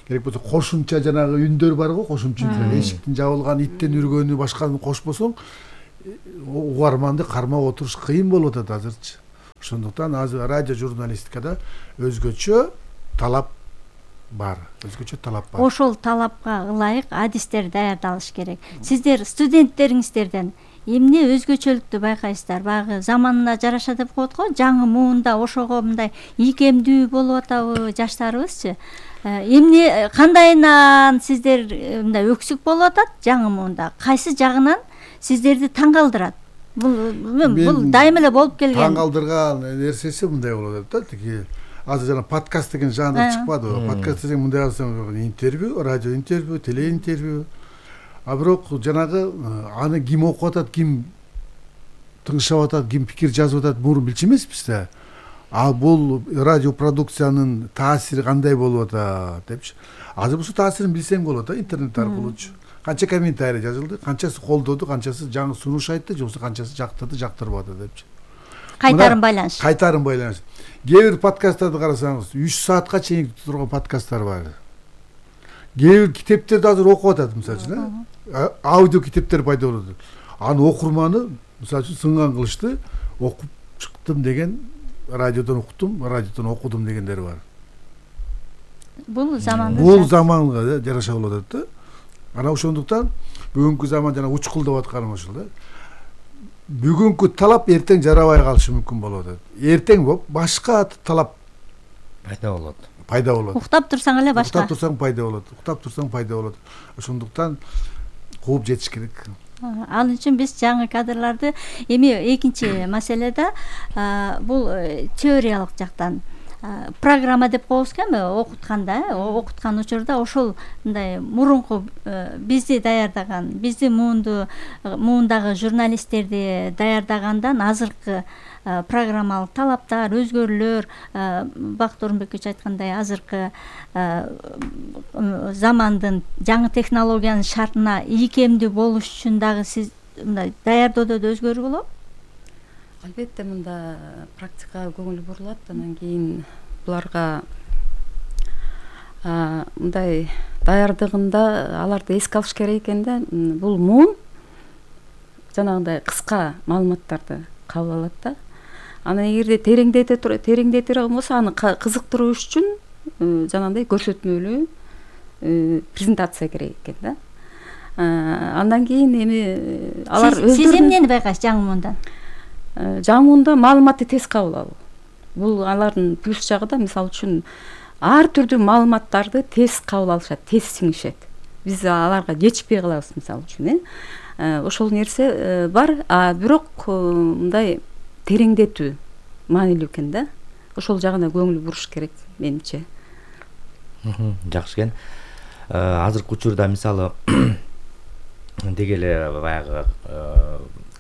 Керек болсо кошумча жанагы үндөр бар го, кошумча үн. Эшиктин жабылган, иттен үргөнү, башканы кошпосоң, угарманды кармап отуруш кыйын болуп атат азырчы. Ошондуктан азыр радио журналистикада өзгөчө талап бар. Өзгөчө талап бар. Ошол талапка ылайык адистер даярдалыш керек. Сиздер студенттериңиздерден эмне өзгөчөлүктү байкайсыздар? Баягы заманына жараша деп коет го, жаңы муунда ошого мындай ийкемдүү болуп атабы жаштарыбызчы? Эмне кандайынан сиздер мындай өксүк болуп атат жаңы муунда? Кайсы жагынан сиздерди таң калтырат? Бул бул дайым эле болуп келген. Таң калтырган нерсеси мындай болуп атат да, тиги азыр жана подкаст деген жанр чыкпадыбы? Подкаст деген мындай алсаң интервью, радио интервью, теле интервью. А бирок жанагы аны ким окуп атат, ким тыңшап атат, ким пикир жазып атат, мурун билчү эмеспиз да. А бул радио продукциянын таасири кандай болуп атат депчи. Азыр бул таасирин билсең болот да, интернет аркылуучу. Канча комментарий жазылды, канчасы колдоду, канчасы жаңы сунуш айтты, же болбосо канчасы жактырды, жактырбады депчи. Кайтарын байланыш. Кайтарын байланыш. Кээ бир подкасттарды карасаңыз, үч саатка чейин турган подкасттар бар. Кээ бир китептерди азыр окуп атат, мисалы үчүн, аудио китептер пайда болду. Аны окурманы, мисалы үчүн, сынган кылышты, окуп чыктым деген, радиодон уктум, радиодон окудум дегендер бар. Бул заманда Бул заманга жараша болуп атат да. Ана ошондуктан бүгүнкү заман жана учкул деп атканым ошол да. Бүгүнкү талап эртең жарабай калышы мүмкүн болуп атат. Эртең башка талап пайда болот. Пайда болот. Уктап турсаң эле башка. Уктап турсаң пайда болот. Уктап турсаң пайда болот. Ошондуктан кууп жетиш керек. Ал үчүн биз жаңы кадрларды эми экинчи маселеде бул теориялык жактан программа деп коебуз эми окутканда, окуткан учурда ошол мындай мурунку бизди даярдаган, бизди муунду муундагы журналисттерди даярдагандан азыркы программалык талаптар, өзгөрүүлөр, Бакыт Орунбекович айткандай азыркы замандын жаңы технологиянын шартына ийкемдүү болуш үчүн дагы сиз мындай даярдоодо да өзгөрүү болобу? Албетте мында практикага көңүл бурулат, анан кийин буларга мындай даярдыгында аларды эске алыш керек экен да. Бул муун жанагындай кыска маалыматтарды кабыл алат да. Аны эгерде тереңдете тереңдетире болбосо аны кызыктыруу үчүн жанагындай көрсөтмөлүү презентация керек экен да. Андан кийин эми алар өздөрү сиз эмнени байкайсыз жаңы муундан? Жаңы муунда маалыматты тез кабыл алуу. Бул алардын плюс жагы да, мисалы үчүн ар түрдүү маалыматтарды тез кабыл алышат, тез сиңишет. Биз аларга жетишпей калабыз, мисалы үчүн, э. Ошол нерсе бар, а бирок мындай тереңдетүү маанилүү экен да. Ошол жагына көңүл буруш керек менимче. Жакшы экен. Азыркы учурда мисалы деги эле баягы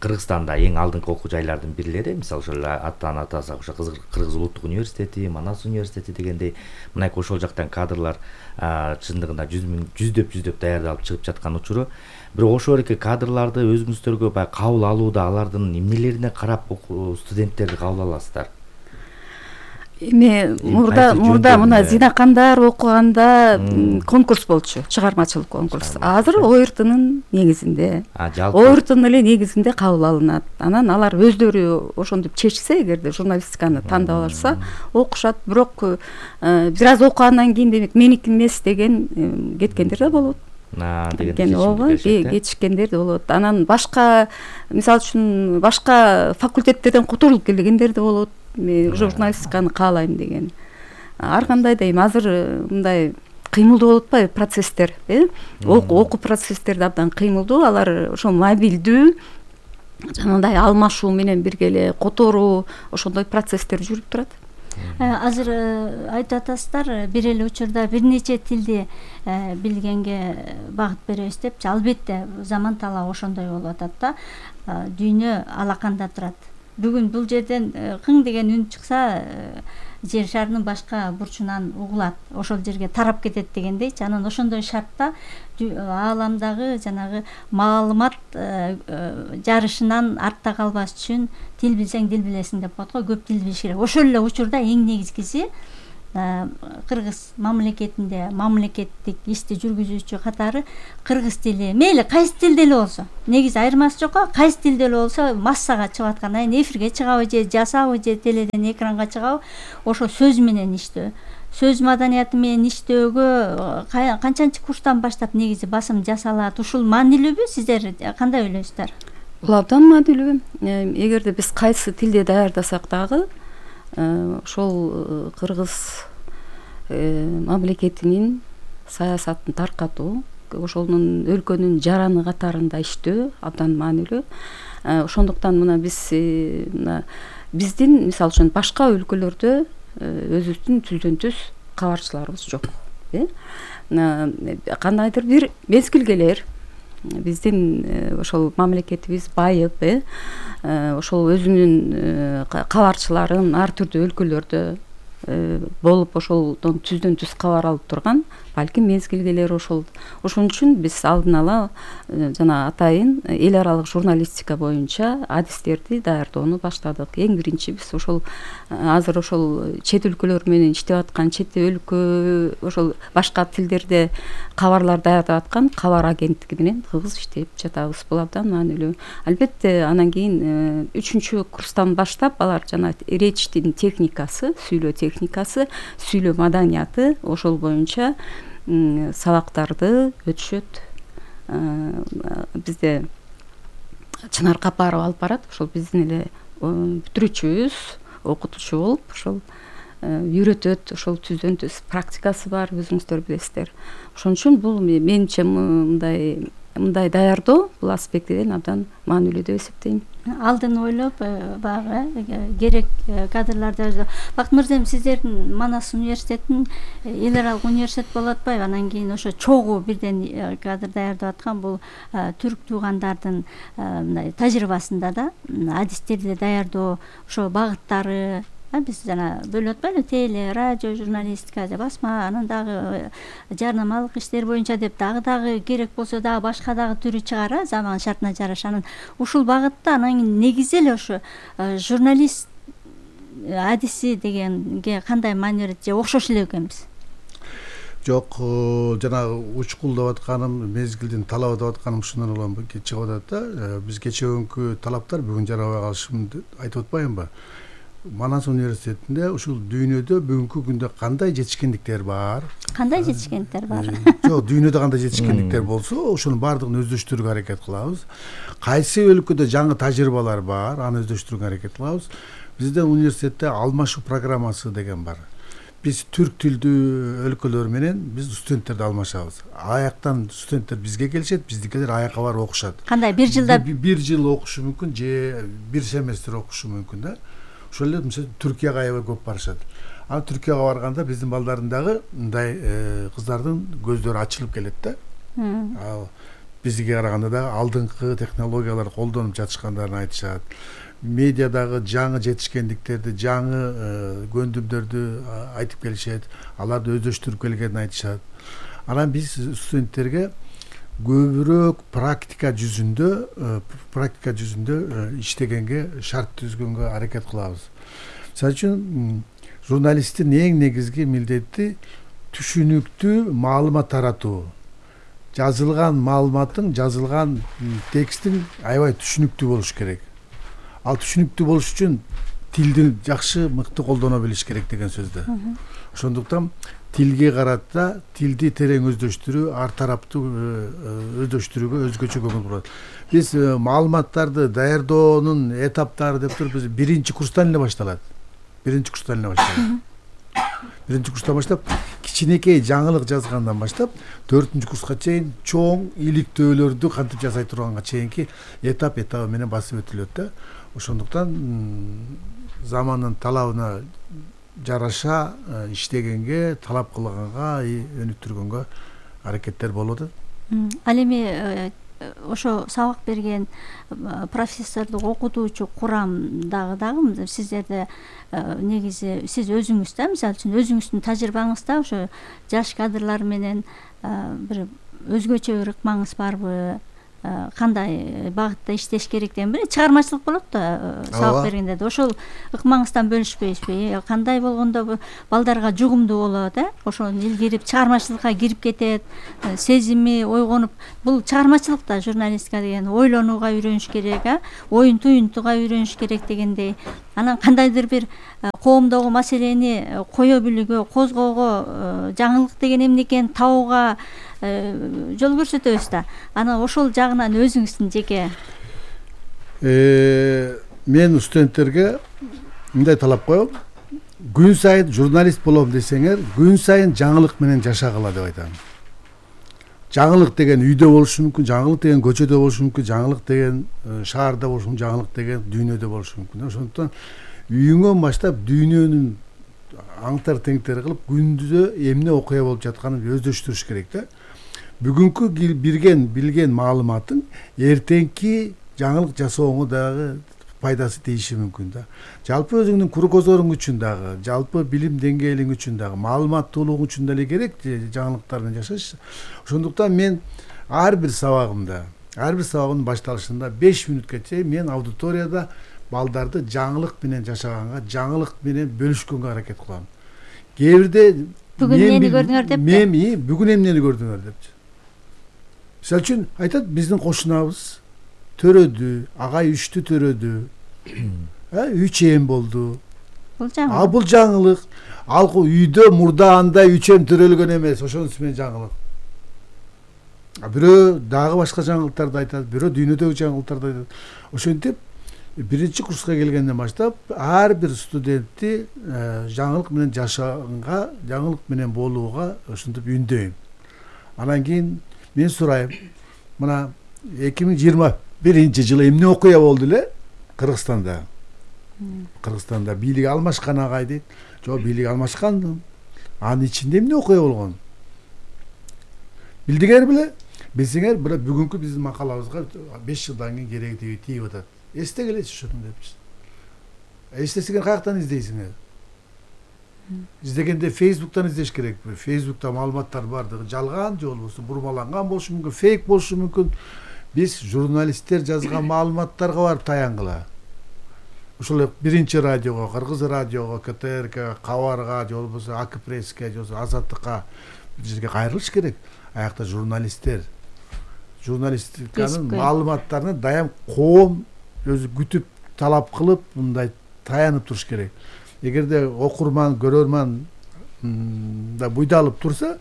Кыргызстанда эң алдыңкы окуу жайлардын бирлери, мисалы ошол аттан атасак ошо Кыргыз улуттук университети, Манас университети дегендей, мынайкы ошол жактан кадрлар чындыгында жүздөп жүздөп даярдалып чыгып жаткан учуру. Бирок ошол эки кадрларды өзүңүздөргө баягы кабыл алууда алардын эмнелерине карап студенттерди кабыл аласыздар? Эми мурда мурда мына Зинакандар окуганда конкурс болчу, чыгармачылык конкурс. Азыр о эр тынын негизинде, о эр тынын эле негизинде кабыл алынат. Анан алар өздөрү ошентип чечсе, эгерде журналистиканы тандап алышса, окушат. Бирок бир аз окугандан кийин демек меники эмес деген кеткендер да болот. деген ооба, кетишкендер да болот. Анан башка, мисалы үчүн, башка факультеттерден которулуп келгендер да болот. Мен журналистиканы каалайм деген. Ар кандай да эми азыр мындай кыймылдуу болуп атпайбы процесстер, э? Окуу процесстери абдан кыймылдуу, алар ошо мобилдүү, жанагындай алмашуу менен бирге эле которуу, ошондой процесстер жүрүп турат. Азыр айтып атасыздар, бир эле учурда бир нече тилди билгенге багыт беребиз депчи. Албетте заман талабы ошондой болуп атат да. Дүйнө алаканда турат. Бүгүн бул жерден кың деген үн чыкса, жер шарынын башка бурчунан угулат, ошол жерге тарап кетет дегендейчи. Анан ошондой шартта ааламдагы жанагы маалымат жарышынан артта калбаш үчүн тил билсең дил билесиң деп коет го, көп тил билиш керек. Ошол эле учурда эң негизгиси кыргыз мамлекетинде мамлекеттик ишти жүргүзүүчү катары кыргыз тили, мейли кайсы тилде эле болсо, негизи айырмасы жок го, кайсы тилде эле болсо массага чыгып аткан, айын эфирге чыгабы же жасабы же теледен экранга чыгабы, ошо сөз менен иштөө, сөз маданияты менен иштөөгө канчанчы курстан баштап негизи басым жасалат? Ушул маанилүүбү? Сиздер кандай ойлойсуздар? Бул абдан маанилүү. Эгерде биз кайсы тилде даярдасак дагы, ошол кыргыз мамлекетинин саясатын таркатуу, ошонун өлкөнүн жараны катарында иштөө абдан маанилүү. Ошондуктан мына биз мына биздин мисалы үчүн башка өлкөлөрдө өзүбүздүн түздөн түз кабарчыларыбыз жок. Кандайдыр бир мезгил келер, биздин ошол мамлекетибиз байып, ошол өзүнүн кабарчыларын ар түрдүү өлкөлөрдө болуп ошолдон түздөн түз кабар алып турган балким мезгил келер. Ошол ошон үчүн биз алдын ала жана атайын эл аралык журналистика боюнча адистерди даярдоону баштадык. Эң биринчи биз ошол азыр ошол чет өлкөлөр менен иштеп аткан, чет өлкө ошол башка тилдерде кабарлар даярдап аткан кабар агенттиги менен кыргыз иштеп жатабыз. Бул абдан маанилүү. Албетте анан кийин үчүнчү курстан баштап алар жана речьтин техникасы, сүйлөө техникасы, сүйлөө маданияты ошол боюнча сабактарды өтүшөт. Бизде Чынар Капарова алып барат. Ошол биздин эле бүтүрүүчүбүз, окутуучу болуп ошол үйрөтөт. Ошол түздөн түз практикасы бар, өзүңүздөр билесиздер. Ошон үчүн бул менимче мындай мындай даярдоо бул аспектиден абдан маанилүү деп эсептейм. Алдын ойлоп баягы керек кадрларды. Бакыт мырза, сиздердин Манас университетин эл аралык университет болуп атпайбы? Анан кийин ошо чогуу бирден кадр даярдап аткан бул түрк туугандардын мындай тажрыйбасында да адистерди даярдоо ошо багыттары биз жана бөлүп атпайлы, теле, радио, журналистика, басма, анан дагы жарнамалык иштер боюнча деп дагы дагы керек болсо дагы башка дагы түрү чыгар, заман шартына жараша. Анан ушул багытта анан негизи эле ошо журналист адиси дегенге кандай маани берет же окшош эле экенбиз? Жок, жанагы учкулдап атканым, мезгилдин талабы деп атканым ушундан улам чыгып атат да. Биз кечеөнкү талаптар бүгүн жарабай калышын айтып атпаймынбы? Манас университетинде ушул дүйнөдө бүгүнкү күндө кандай жетишкендиктер бар? Кандай жетишкендиктер бар? Жок, дүйнөдө кандай жетишкендиктер болсо, ошонун баардыгын өздөштүрүүгө аракет кылабыз. Кайсы өлкөдө жаңы тажрыйбалар бар, аны өздөштүрүүгө аракет кылабыз. Бизде университетте алмашуу программасы деген бар. Биз түрк тилдүү өлкөлөр менен биз студенттерди алмашабыз. Аяктан студенттер бизге келишет, биздикилер аякка барып окушат. Кандай бир жылда бир жыл окушу мүмкүн же бир семестр окушу мүмкүн да. Ошол эле мисалы Түркияга аябай көп барышат. Ал Түркияга барганда биздин балдардын дагы мындай кыздардын көздөрү ачылып келет да. Ал бизге караганда дагы алдыңкы технологияларды колдонуп жатышкандарын айтышат. Медиадагы жаңы жетишкендиктерди, жаңы көндүмдөрдү айтып келишет. Аларды өздөштүрүп келгенин айтышат. Анан биз студенттерге көбүрөөк практика жүзүндө практика жүзүндө иштегенге шарт түзгөнгө аракет кылабыз. Мисалы үчүн журналисттин эң негизги милдети түшүнүктүү маалымат таратуу. Жазылган маалыматтын, жазылган текстин аябай түшүнүктүү болуш керек. Ал түшүнүктүү болуш үчүн тилди жакшы, мыкты колдоно билиш керек деген сөздө. Ошондуктан тилге карата тилди терең өздөштүрүү, ар тараптуу өздөштүрүүгө өзгөчө көңүл бурат. Биз маалыматтарды даярдоонун этаптары деп туруп биз биринчи курстан эле башталат. Биринчи курстан эле башталат. Биринчи курстан баштап кичинекей жаңылык жазгандан баштап төртүнчү курска чейин чоң иликтөөлөрдү кантип жасай турганга чейинки этап этабы менен басып өтүлөт да. Ошондуктан замандын талабына жараша иштегенге, талап кылганга, өнүктүргөнгө аракеттер болуп атат. Ал эми ошо сабак берген профессордук окутуучу курам дагы дагы сиздерде негизи сиз өзүңүз да, мисалы үчүн өзүңүздүн тажрыйбаңызда ошо жаш кадрлар менен бир өзгөчө бир ыкмаңыз барбы, кандай багытта иштеш керек деген бир чыгармачылык болот да сабак бергенде да, ошол ыкмаңыздан бөлүшпөйсүзбү? Кандай болгондо балдарга жугумдуу болот, э? Ошону илгирип чыгармачылыкка кирип кетет, сезими ойгонуп, бул чыгармачылык да, журналистика деген ойлонууга үйрөнүш керек, а оюн туюнтууга үйрөнүш керек дегендей. Анан кандайдыр бир коомдогу маселени кое билүүгө, козгоого, жаңылык деген эмне экенин табууга жол көрсөтөбүз да. Анан ошол жагынан өзүңүздүн жеке мен студенттерге мындай талап коем. Күн сайын журналист болом десеңер, күн сайын жаңылык менен жашагыла деп айтам. Жаңылык деген үйдө болушу мүмкүн, жаңылык деген көчөдө болушу мүмкүн, жаңылык деген шаарда болушу мүмкүн, жаңылык деген дүйнөдө болушу мүмкүн. Ошондуктан үйүңөн баштап дүйнөнүн аңтар теңтер кылып, күндүзө эмне окуя болуп жатканын өздөштүрүш керек да. Бүгүнкү билген билген маалыматың эртеңки жаңылык жасооңо дагы пайдасы тийиши мүмкүн да. Жалпы өзүңдүн куру көзөрүң үчүн дагы, жалпы билим деңгээлиң үчүн дагы, маалыматтуулугуң үчүн дагы керек жаңылыктар менен жашаш. Ошондуктан мен ар бир сабагымда, ар бир сабагымдын башталышында беш мүнөткө чейин мен аудиторияда балдарды жаңылык менен жашаганга, жаңылык менен бөлүшкөнгө аракет кылам. Кээ бирде бүгүн эмнени көрдүңөр деп, мен бүгүн эмнени көрдүңөр депчи. Мисалы үчүн айтат, биздин кошунабыз төрөдү, агай үчтү төрөдү, үч эм болду. Бул жаңылык. А бул жаңылык. Ал үйдө мурда андай үч эм төрөлгөн эмес, ошонусу менен жаңылык. А бирөө дагы башка жаңылыктарды айтат, бирөө дүйнөдөгү жаңылыктарды айтат. Ошентип биринчи курска келгенден баштап ар бир студентти жаңылык менен жашаганга, жаңылык менен болууга ошентип үндөйм. Анан кийин мен сурайм, мына эки миң жыйырма биринчи жылы эмне окуя болду эле Кыргызстанда? Кыргызстанда бийлик алмашкан агай дейт. Жок, бийлик алмашкан. Анын ичинде эмне окуя болгон? Билдиңер беле? Билсеңер, бирок бүгүнкү биздин макалабызга беш жылдан кийин кереги тийип атат. Эстегилечи ошону депчи. Эстесеңер каяктан издейсиңер? Издегенде Facebook'tan издеш керек. Facebook'та маалыматтар бардыгы жалган же болбосо бурмаланган болушу мүмкүн, фейк болушу мүмкүн. Биз журналисттер жазган маалыматтарга барып таянгыла. Ошол биринчи радиого, Кыргыз радиого, ка тэ эр ка, Кабарга же болбосо ак пресске же болбосо Азаттыкка бир жерге кайрылыш керек. Аякта журналисттер журналистиканын маалыматтарын дайым коом өзү күтүп, талап кылып, мындай таянып туруш керек. Эгерде окурман, көрөрман да буйдалып турса,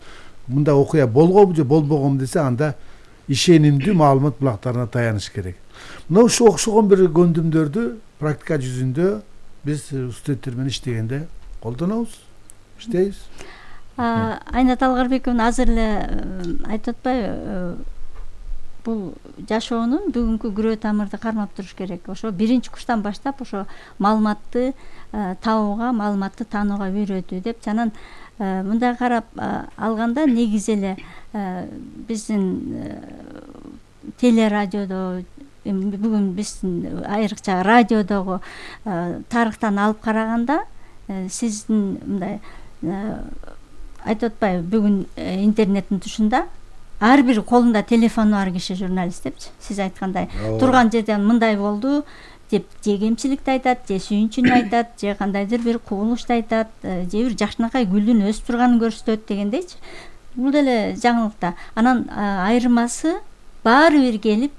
мында окуя болгонбу же болбогонбу десе, анда ишенимдүү маалымат булактарына таяныш керек. Мына ушу окшогон бир көндүмдөрдү практика жүзүндө биз студенттер менен иштегенде колдонобуз, иштейбиз. Айнат Алгарбековна азыр эле айтып атпайбы, бул жашоонун бүгүнкү күрөө тамырды кармап туруш керек. Ошо биринчи курстан баштап ошо маалыматты табууга, маалыматты таанууга үйрөтүү деп, анан мындай карап алганда негизи эле биздин телерадиодо, бүгүн биздин айрыкча радиодогу тарыхтан алып караганда, сиздин мындай айтып атпайбы, бүгүн интернеттин тушунда ар бир колунда телефону бар киши журналист депчи. Сиз айткандай турган жерден мындай болду деп же кемчиликти айтат, же сүйүнчүн айтат, же кандайдыр бир кубулушту айтат, же бир жакшынакай гүлдүн өсүп турганын көрсөтөт дегендейчи. Бул деле жаңылыкта. Анан айырмасы баары бир келип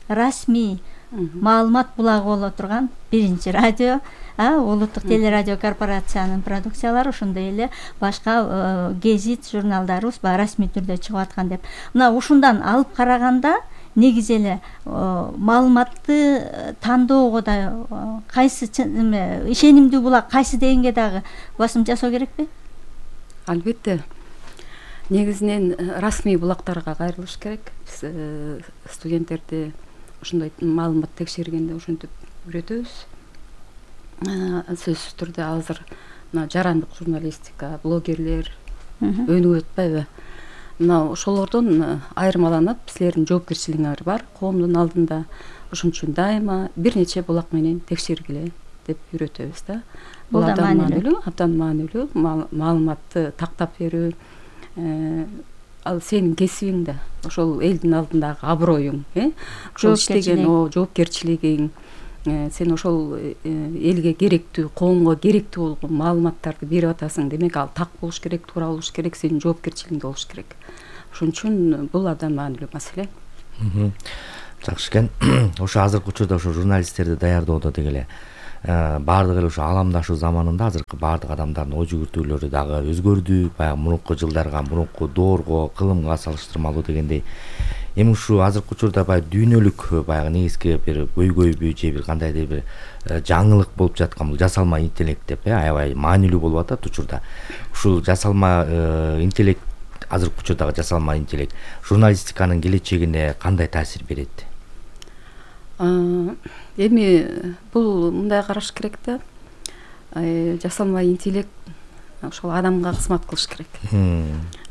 расмий маалымат булагы боло турган биринчи радио, улуттук телерадио корпорациянын продукциялары, ошондой эле башка гезит журналдарыбыз баягы расмий түрдө чыгып аткан деп. Мына ушундан алып караганда негизи эле маалыматты тандоого да кайсы ишенимдүү булак кайсы дегенге дагы басым жасоо керекпи? Албетте. Негизинен расмий булактарга кайрылыш керек. Биз студенттерди ошондой маалымат текшергенде ошентип үйрөтөбүз. Сөзсүз түрдө азыр мына жарандык журналистика, блогерлер өнүгүп атпайбы? Мына ошолордон айырмаланып силердин жоопкерчилигиңер бар коомдун алдында. Ошон үчүн дайыма бир нече булак менен текшергиле деп үйрөтөбүз да. Бул абдан маанилүү, абдан маанилүү маалыматты тактап берүү. Ал сенин кесибиң да, ошол элдин алдындагы аброюң, э? Ошол иштеген жоопкерчилигиң, сен ошол элге керектүү, коомго керектүү болгон маалыматтарды берип атасың. Демек, ал так болуш керек, туура болуш керек, сенин жоопкерчилигиңде болуш керек. Ошон үчүн бул абдан маанилүү маселе. Жакшы экен. Ошо азыркы учурда ошо журналисттерди даярдоодо деги эле баардык эле ошо аламдашуу заманында азыркы баардык адамдардын ой жүгүртүүлөрү дагы өзгөрдү. Баягы мурунку жылдарга, мурунку доорго, кылымга салыштырмалуу дегендей. Эми ушу азыркы учурда баягы дүйнөлүк баягы негизги бир көйгөйбү же бир кандайдыр бир жаңылык болуп жаткан бул жасалма интеллект деп аябай маанилүү болуп атат учурда. Ушул жасалма интеллект, азыркы учурдагы жасалма интеллект журналистиканын келечегине кандай таасир берет? Эми бул мындай караш керек да. Жасалма интеллект ошол адамга кызмат кылыш керек.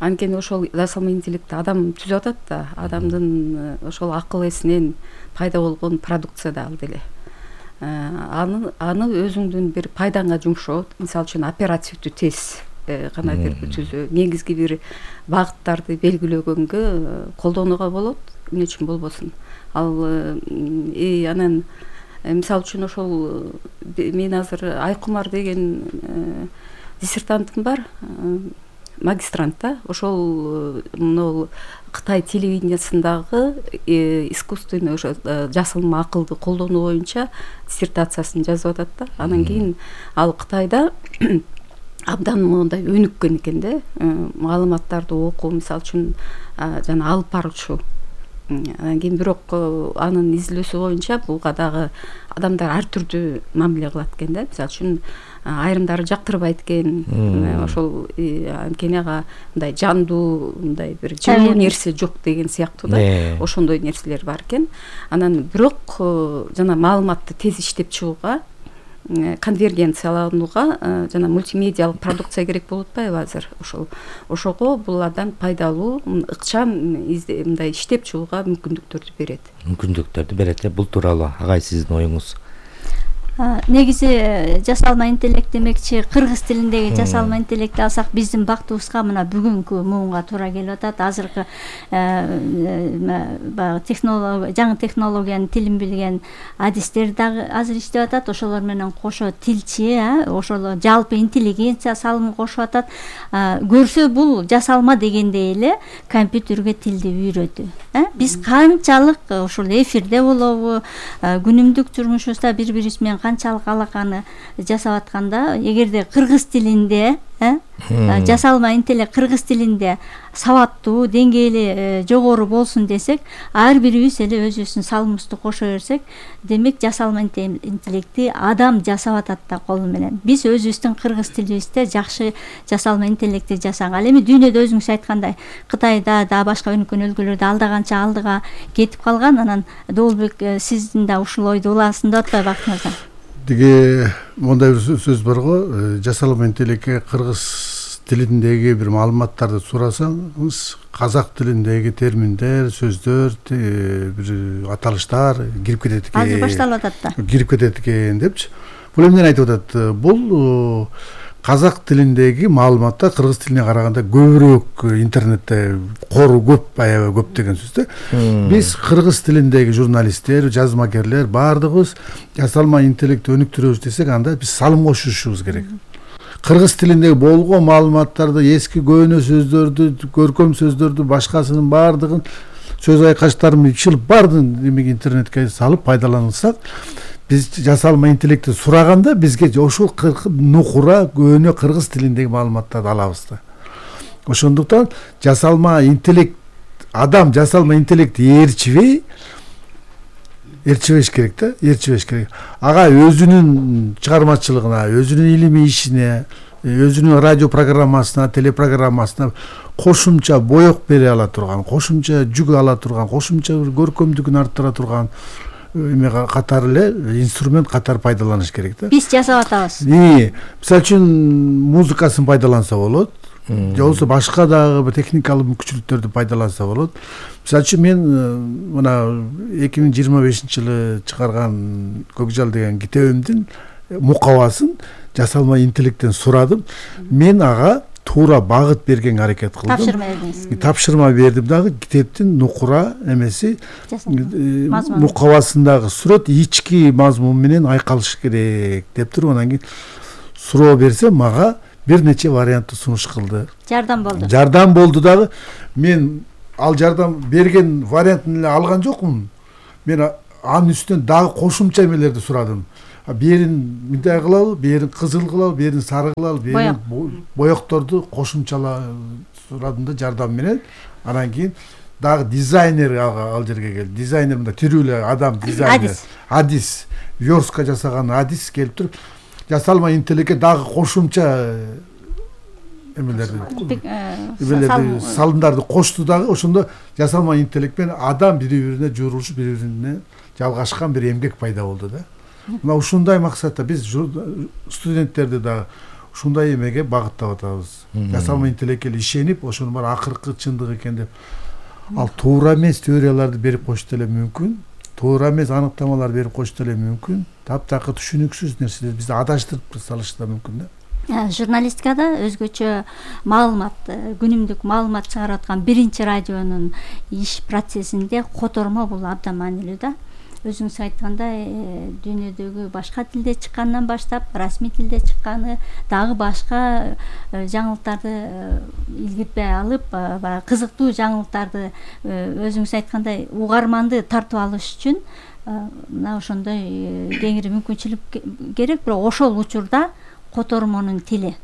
Анткени ошол жасалма интеллектти адам түзүп атат да, адамдын ошол акыл эсинен пайда болгон продукция да ал деле. Аны аны өзүңдүн бир пайдаңа жумшоо, мисалы үчүн оперативдүү тез кандайдыр бир түзүү, негизги бир багыттарды белгилөгөнгө колдонууга болот, эмне үчүн болбосун. Ал э анан мисалы үчүн ошол мен азыр Айкумар деген диссертантым бар, магистрант да. Ошол мына Кытай телевидениясындагы искусственный ошо жасалма акылды колдонуу боюнча диссертациясын жазып атат да. Анан кийин ал Кытайда абдан мындай өнүккөн экен да. Маалыматтарды окуу, мисалы үчүн жана алып баруучу. Анан кийин бирок анын изилдөөсү боюнча буга дагы адамдар ар түрдүү мамиле кылат экен да. Мисалы үчүн айрымдары жактырбайт экен. Ошол анткени ага мындай жандуу, мындай бир жылуу нерсе жок деген сыяктуу да. Ошондой нерселер бар экен. Анан бирок жана маалыматты тез иштеп чыгууга, конвергенцияланууга жана мультимедиалык продукция керек болуп атпайбы азыр? Ошол ошого бул абдан пайдалуу, ыкчам мындай иштеп чыгууга мүмкүндүктөрдү берет. Мүмкүндүктөрдү берет. Бул тууралуу агай сиздин оюңуз? Негизи жасалма интеллект демекчи кыргыз тилиндеги жасалма интеллектти алсак биздин бактыбызга мына бүгүнкү муунга туура келип атат. Азыркы баягы технология, жаңы технологиянын тилин билген адистер дагы азыр иштеп атат. Ошолор менен кошо тилчи, ошол жалпы интеллигенция салымын кошуп атат. Көрсө бул жасалма дегендей эле компьютерге тилди үйрөтүү. Биз канчалык ушул эфирде болобу, күнүмдүк турмушубузда бири-бирибиз менен канчалык алаканы жасап атканда, эгерде кыргыз тилинде жасалма интеллект кыргыз тилинде сабаттуу, деңгээли жогору болсун десек, ар бирибиз эле өзүбүздүн салымыбызды кошо берсек, демек жасалма интеллектти адам жасап атат да колу менен. Биз өзүбүздүн кыргыз тилибизде жакшы жасалма интеллектти жасаган. Ал эми дүйнөдө өзүңүз айткандай, Кытайда да башка өнүккөн өлкөлөрдө алда канча алдыга кетип калган. Анан Доолбек, сиздин да ушул ойду улаасың деп атпайбы Бактымырза? Деге мондай бир сөз бар го, жасалма интеллектке кыргыз тилиндеги бир маалыматтарды сурасаңыз, казак тилиндеги терминдер, сөздөр, бир аталыштар кирип кетет экен. Азыр башталып атат да. Кирип кетет экен депчи. Бул эмнени айтып атат? Бул казак тилиндеги маалыматтар кыргыз тилине караганда көбүрөөк интернетте кору көп, аябай көп деген сөз да. Биз кыргыз тилиндеги журналисттер, жазмакерлер баардыгыбыз жасалма интеллектти өнүктүрөбүз десек, анда биз салым кошушубуз керек. Кыргыз тилиндеги болгон маалыматтарды, эски көөнө сөздөрдү, көркөм сөздөрдү, башкасынын баардыгын, сөз айкаштарын ичилип баардыгын демек интернетке салып пайдалансак, биз жасалма интеллектти сураганда бизге ошол нукура көөнө кыргыз тилиндеги маалыматтарды алабыз да. Ошондуктан жасалма интеллект, адам жасалма интеллектти ээрчибей, ээрчибеш керек да, ээрчибеш керек. Ага өзүнүн чыгармачылыгына, өзүнүн илимий ишине, өзүнүн радио программасына, телепрограммасына кошумча боек бере ала турган, кошумча жүк ала турган, кошумча көркөмдүгүн арттыра турган эме катары эле инструмент катары пайдаланыш керек да. Биз жасап атабыз. Мисалы үчүн музыкасын пайдаланса болот, же болбосо башка дагы бир техникалык мүмкүнчүлүктөрдү пайдаланса болот. Мисалы үчүн мен мына эки миң жыйырма бешинчи жылы чыгарган Көкжал деген китебимдин мукабасын жасалма интеллекттен сурадым. Мен ага туура багыт берген аракет кылдым. Тапшырма бердиңиз. Тапшырма бердим дагы китептин нукура эмеси мукабасындагы сүрөт ички мазмун менен айкалыш керек деп туруп анан кийин суроо берсем мага бир нече вариантты сунуш кылды. Жардам болду. Жардам болду дагы. Мен ал жардам берген вариантын эле алган жокмун. Мен анын үстүнөн дагы кошумча эмелерди сурадым. Берин мындай кылалы, берин кызыл кылалы, берин сары кылалы, берин боекторду кошумчала сурадым да жардам менен. Анан кийин дагы дизайнер ал жерге келди. Дизайнер мындай тирүү эле адам дизайнер. Адис, верстка жасаган адис келип туруп, жасалма интеллектке дагы кошумча эмелерди, эмелерди, салымдарды кошту дагы. Ошондо жасалма интеллект менен адам бири-бирине журулушуп, бири-бирине жалгашкан бир эмгек пайда болду да. Мына ушундай максатта биз студенттерди дагы ушундай эмеге багыттап атабыз. Жасалма интеллектке ишенип, ошонун бар акыркы чындык экен деп. Ал туура эмес теорияларды берип коюшту эле мүмкүн. Туура эмес аныктамалар берип коюшту эле мүмкүн. Таптакыр түшүнүксүз нерселер бизди адаштырып салышы да мүмкүн да. Журналистикада өзгөчө маалымат, күнүмдүк маалымат чыгарып аткан биринчи радионун иш процессинде котормо бул абдан маанилүү да. Өзүңүз айткандай, дүйнөдөгү башка тилде чыккандан баштап, расмий тилде чыкканы, дагы башка жаңылыктарды илгирбей алып, баягы кызыктуу жаңылыктарды өзүңүз айткандай угарманды тартып алыш үчүн мына ошондой кеңири мүмкүнчүлүк керек. Бирок ошол учурда котормонун тили.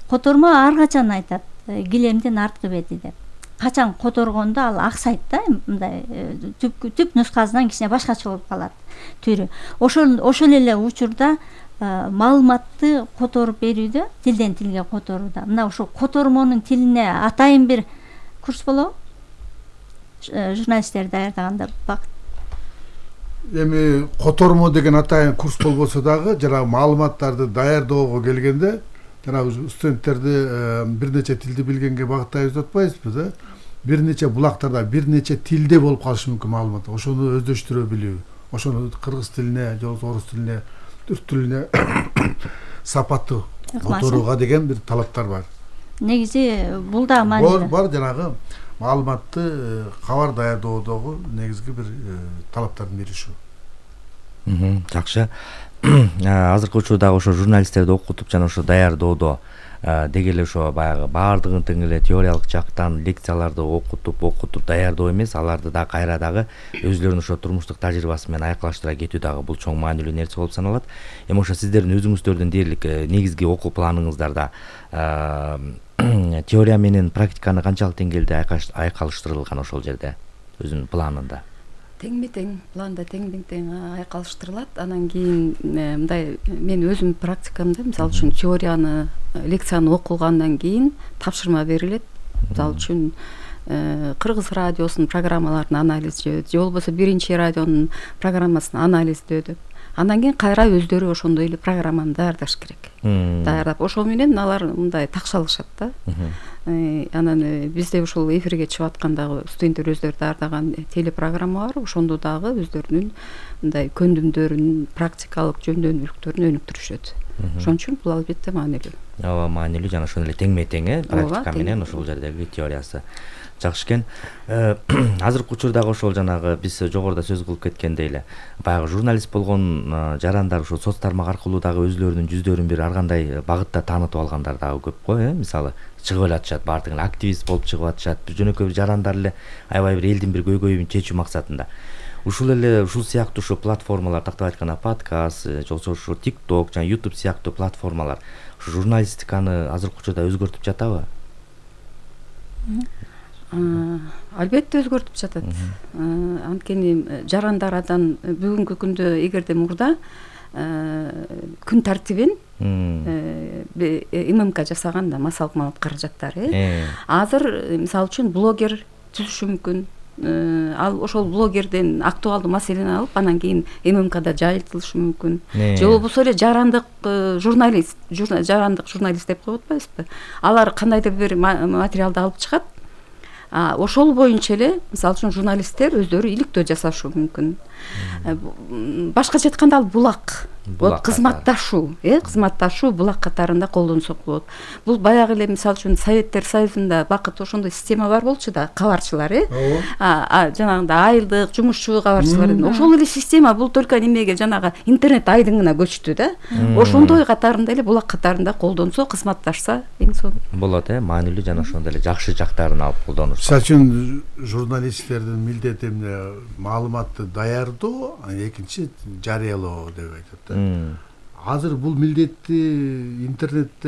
Котормо ар качан айтат, килемдин арткы бети деп. Качан которгондо ал аксайт да, мындай түп түп нускасынан кичине башкача болуп калат түрү. Ошол ошол эле учурда маалыматты которуп берүүдө, тилден тилге которууда. Мына ошол котормонун тилине атайын бир курс болобу? Журналисттер даярдаганда бакыт. Эми котормо деген атайын курс болбосо дагы, жана маалыматтарды даярдоого келгенде жанагы студенттерди бир нече тилди билгенге багыттайбыз деп атпайбызбы да? Бир нече булактарда бир нече тилде болуп калышы мүмкүн маалымат. Ошону өздөштүрө билүү. Ошону кыргыз тилине, же орус тилине, түрк тилине сапаттуу которууга деген бир талаптар бар. Негизи бул да маанилүү. Бар жанагы маалыматты кабар даярдоодогу негизги бир талаптардын бири ушу. Жакшы. Азыркы учурдагы ошо журналисттерди окутуп жана ошо даярдоодо деги эле ошо баягы баардыгын тең эле теориялык жактан лекцияларды окутуп окутуп даярдоо эмес, аларды да кайра дагы өзүлөрүнүн ошо турмуштук тажрыйбасы менен айкалаштыра кетүү дагы бул чоң маанилүү нерсе болуп саналат. Эми ошо сиздердин өзүңүздөрдүн дээрлик негизги окуу планыңыздарда теория менен практиканы канчалык деңгээлде айкалыштырылган ошол жерде өзүнүн планында? Теңми тең, планда теңден тең айкалыштырылат. Анан кийин мындай мен өзүм практикамда, мисалы үчүн теорияны, лекцияны окугандан кийин тапшырма берилет. Мисалы үчүн Кыргыз радиосунун программаларын анализдөө, же болбосо биринчи радионун программасын анализдөө. Андан кийин кайра өздөрү ошондой эле программаны даярдаш керек. Даярдап, ошол менен алар мындай такшалышат да. Анан бизде ушул эфирге чыгып аткандагы студенттер өздөрү даярдаган телепрограмма бар, ошондо дагы өздөрүнүн мындай көндүмдөрүн, практикалык жөндөмдүүлүктөрүн өнүктүрүшөт. Ошон үчүн бул албетте маанилүү. Ооба, маанилүү жана ошондой эле теңме тең э практика менен ошол жердеги теориясы. Жакшы экен. Азыркы учурдагы ошол жанагы биз жогоруда сөз кылып кеткендей эле баягы журналист болгон жарандар ушул соц тармак аркылуу дагы өзлөрүнүн жүздөрүн бир ар кандай багытта таанытып алгандар дагы көп го, э мисалы чыгып эле атышат, баардык эле активист болуп чыгып атышат, жөнөкөй бир жарандар эле аябай бир элдин бир көйгөйүн чечүү максатында. Ушул эле ушул сыяктуу ушу платформалар, тактап айтканда подкаст, же болбосо ушу TikTok жана YouTube сыяктуу платформалар ушу журналистиканы азыркы учурда өзгөртүп жатабы? Албетте өзгөртүп жатат. Анткени жарандардан бүгүнкү күндө эгерде мурда күн тартибин ММК жасаганда массалык маалымат каражаттары азыр мисалы үчүн блогер түзүшү мүмкүн, ал ошол блогерден актуалдуу маселени алып анан кийин эм эм кда жайылтылышы мүмкүн. Же болбосо эле жарандык журналист, жарандык журналист деп коет атпайбызбы? Алар кандайдыр бир материалды алып чыгат. Ошол боюнча эле, мисалы үчүн журналисттер өздөрү иликтөө жасашы мүмкүн. Башкача айтканда ал булак. Вот кызматташуу, э, кызматташуу булак катарында колдонсок болот. Бул баягы эле мисалы үчүн Советтер Союзунда бакыт ошондой система бар болчу да, кабарчылар, э. А жанагындай айылдык жумушчу кабарчылар. Ошол эле система бул только немеге жанагы интернет айдыңына көчтү да. Ошондой катарында эле булак катарында колдонсо, кызматташса эң сонун болот, э, маанилүү жана ошондой эле жакшы жактарын алып колдонуш. Мисалы үчүн журналисттердин милдети эмне маалыматты даярдоо, экинчи жарыялоо деп айтат да. Азыр бул милдетти интернетте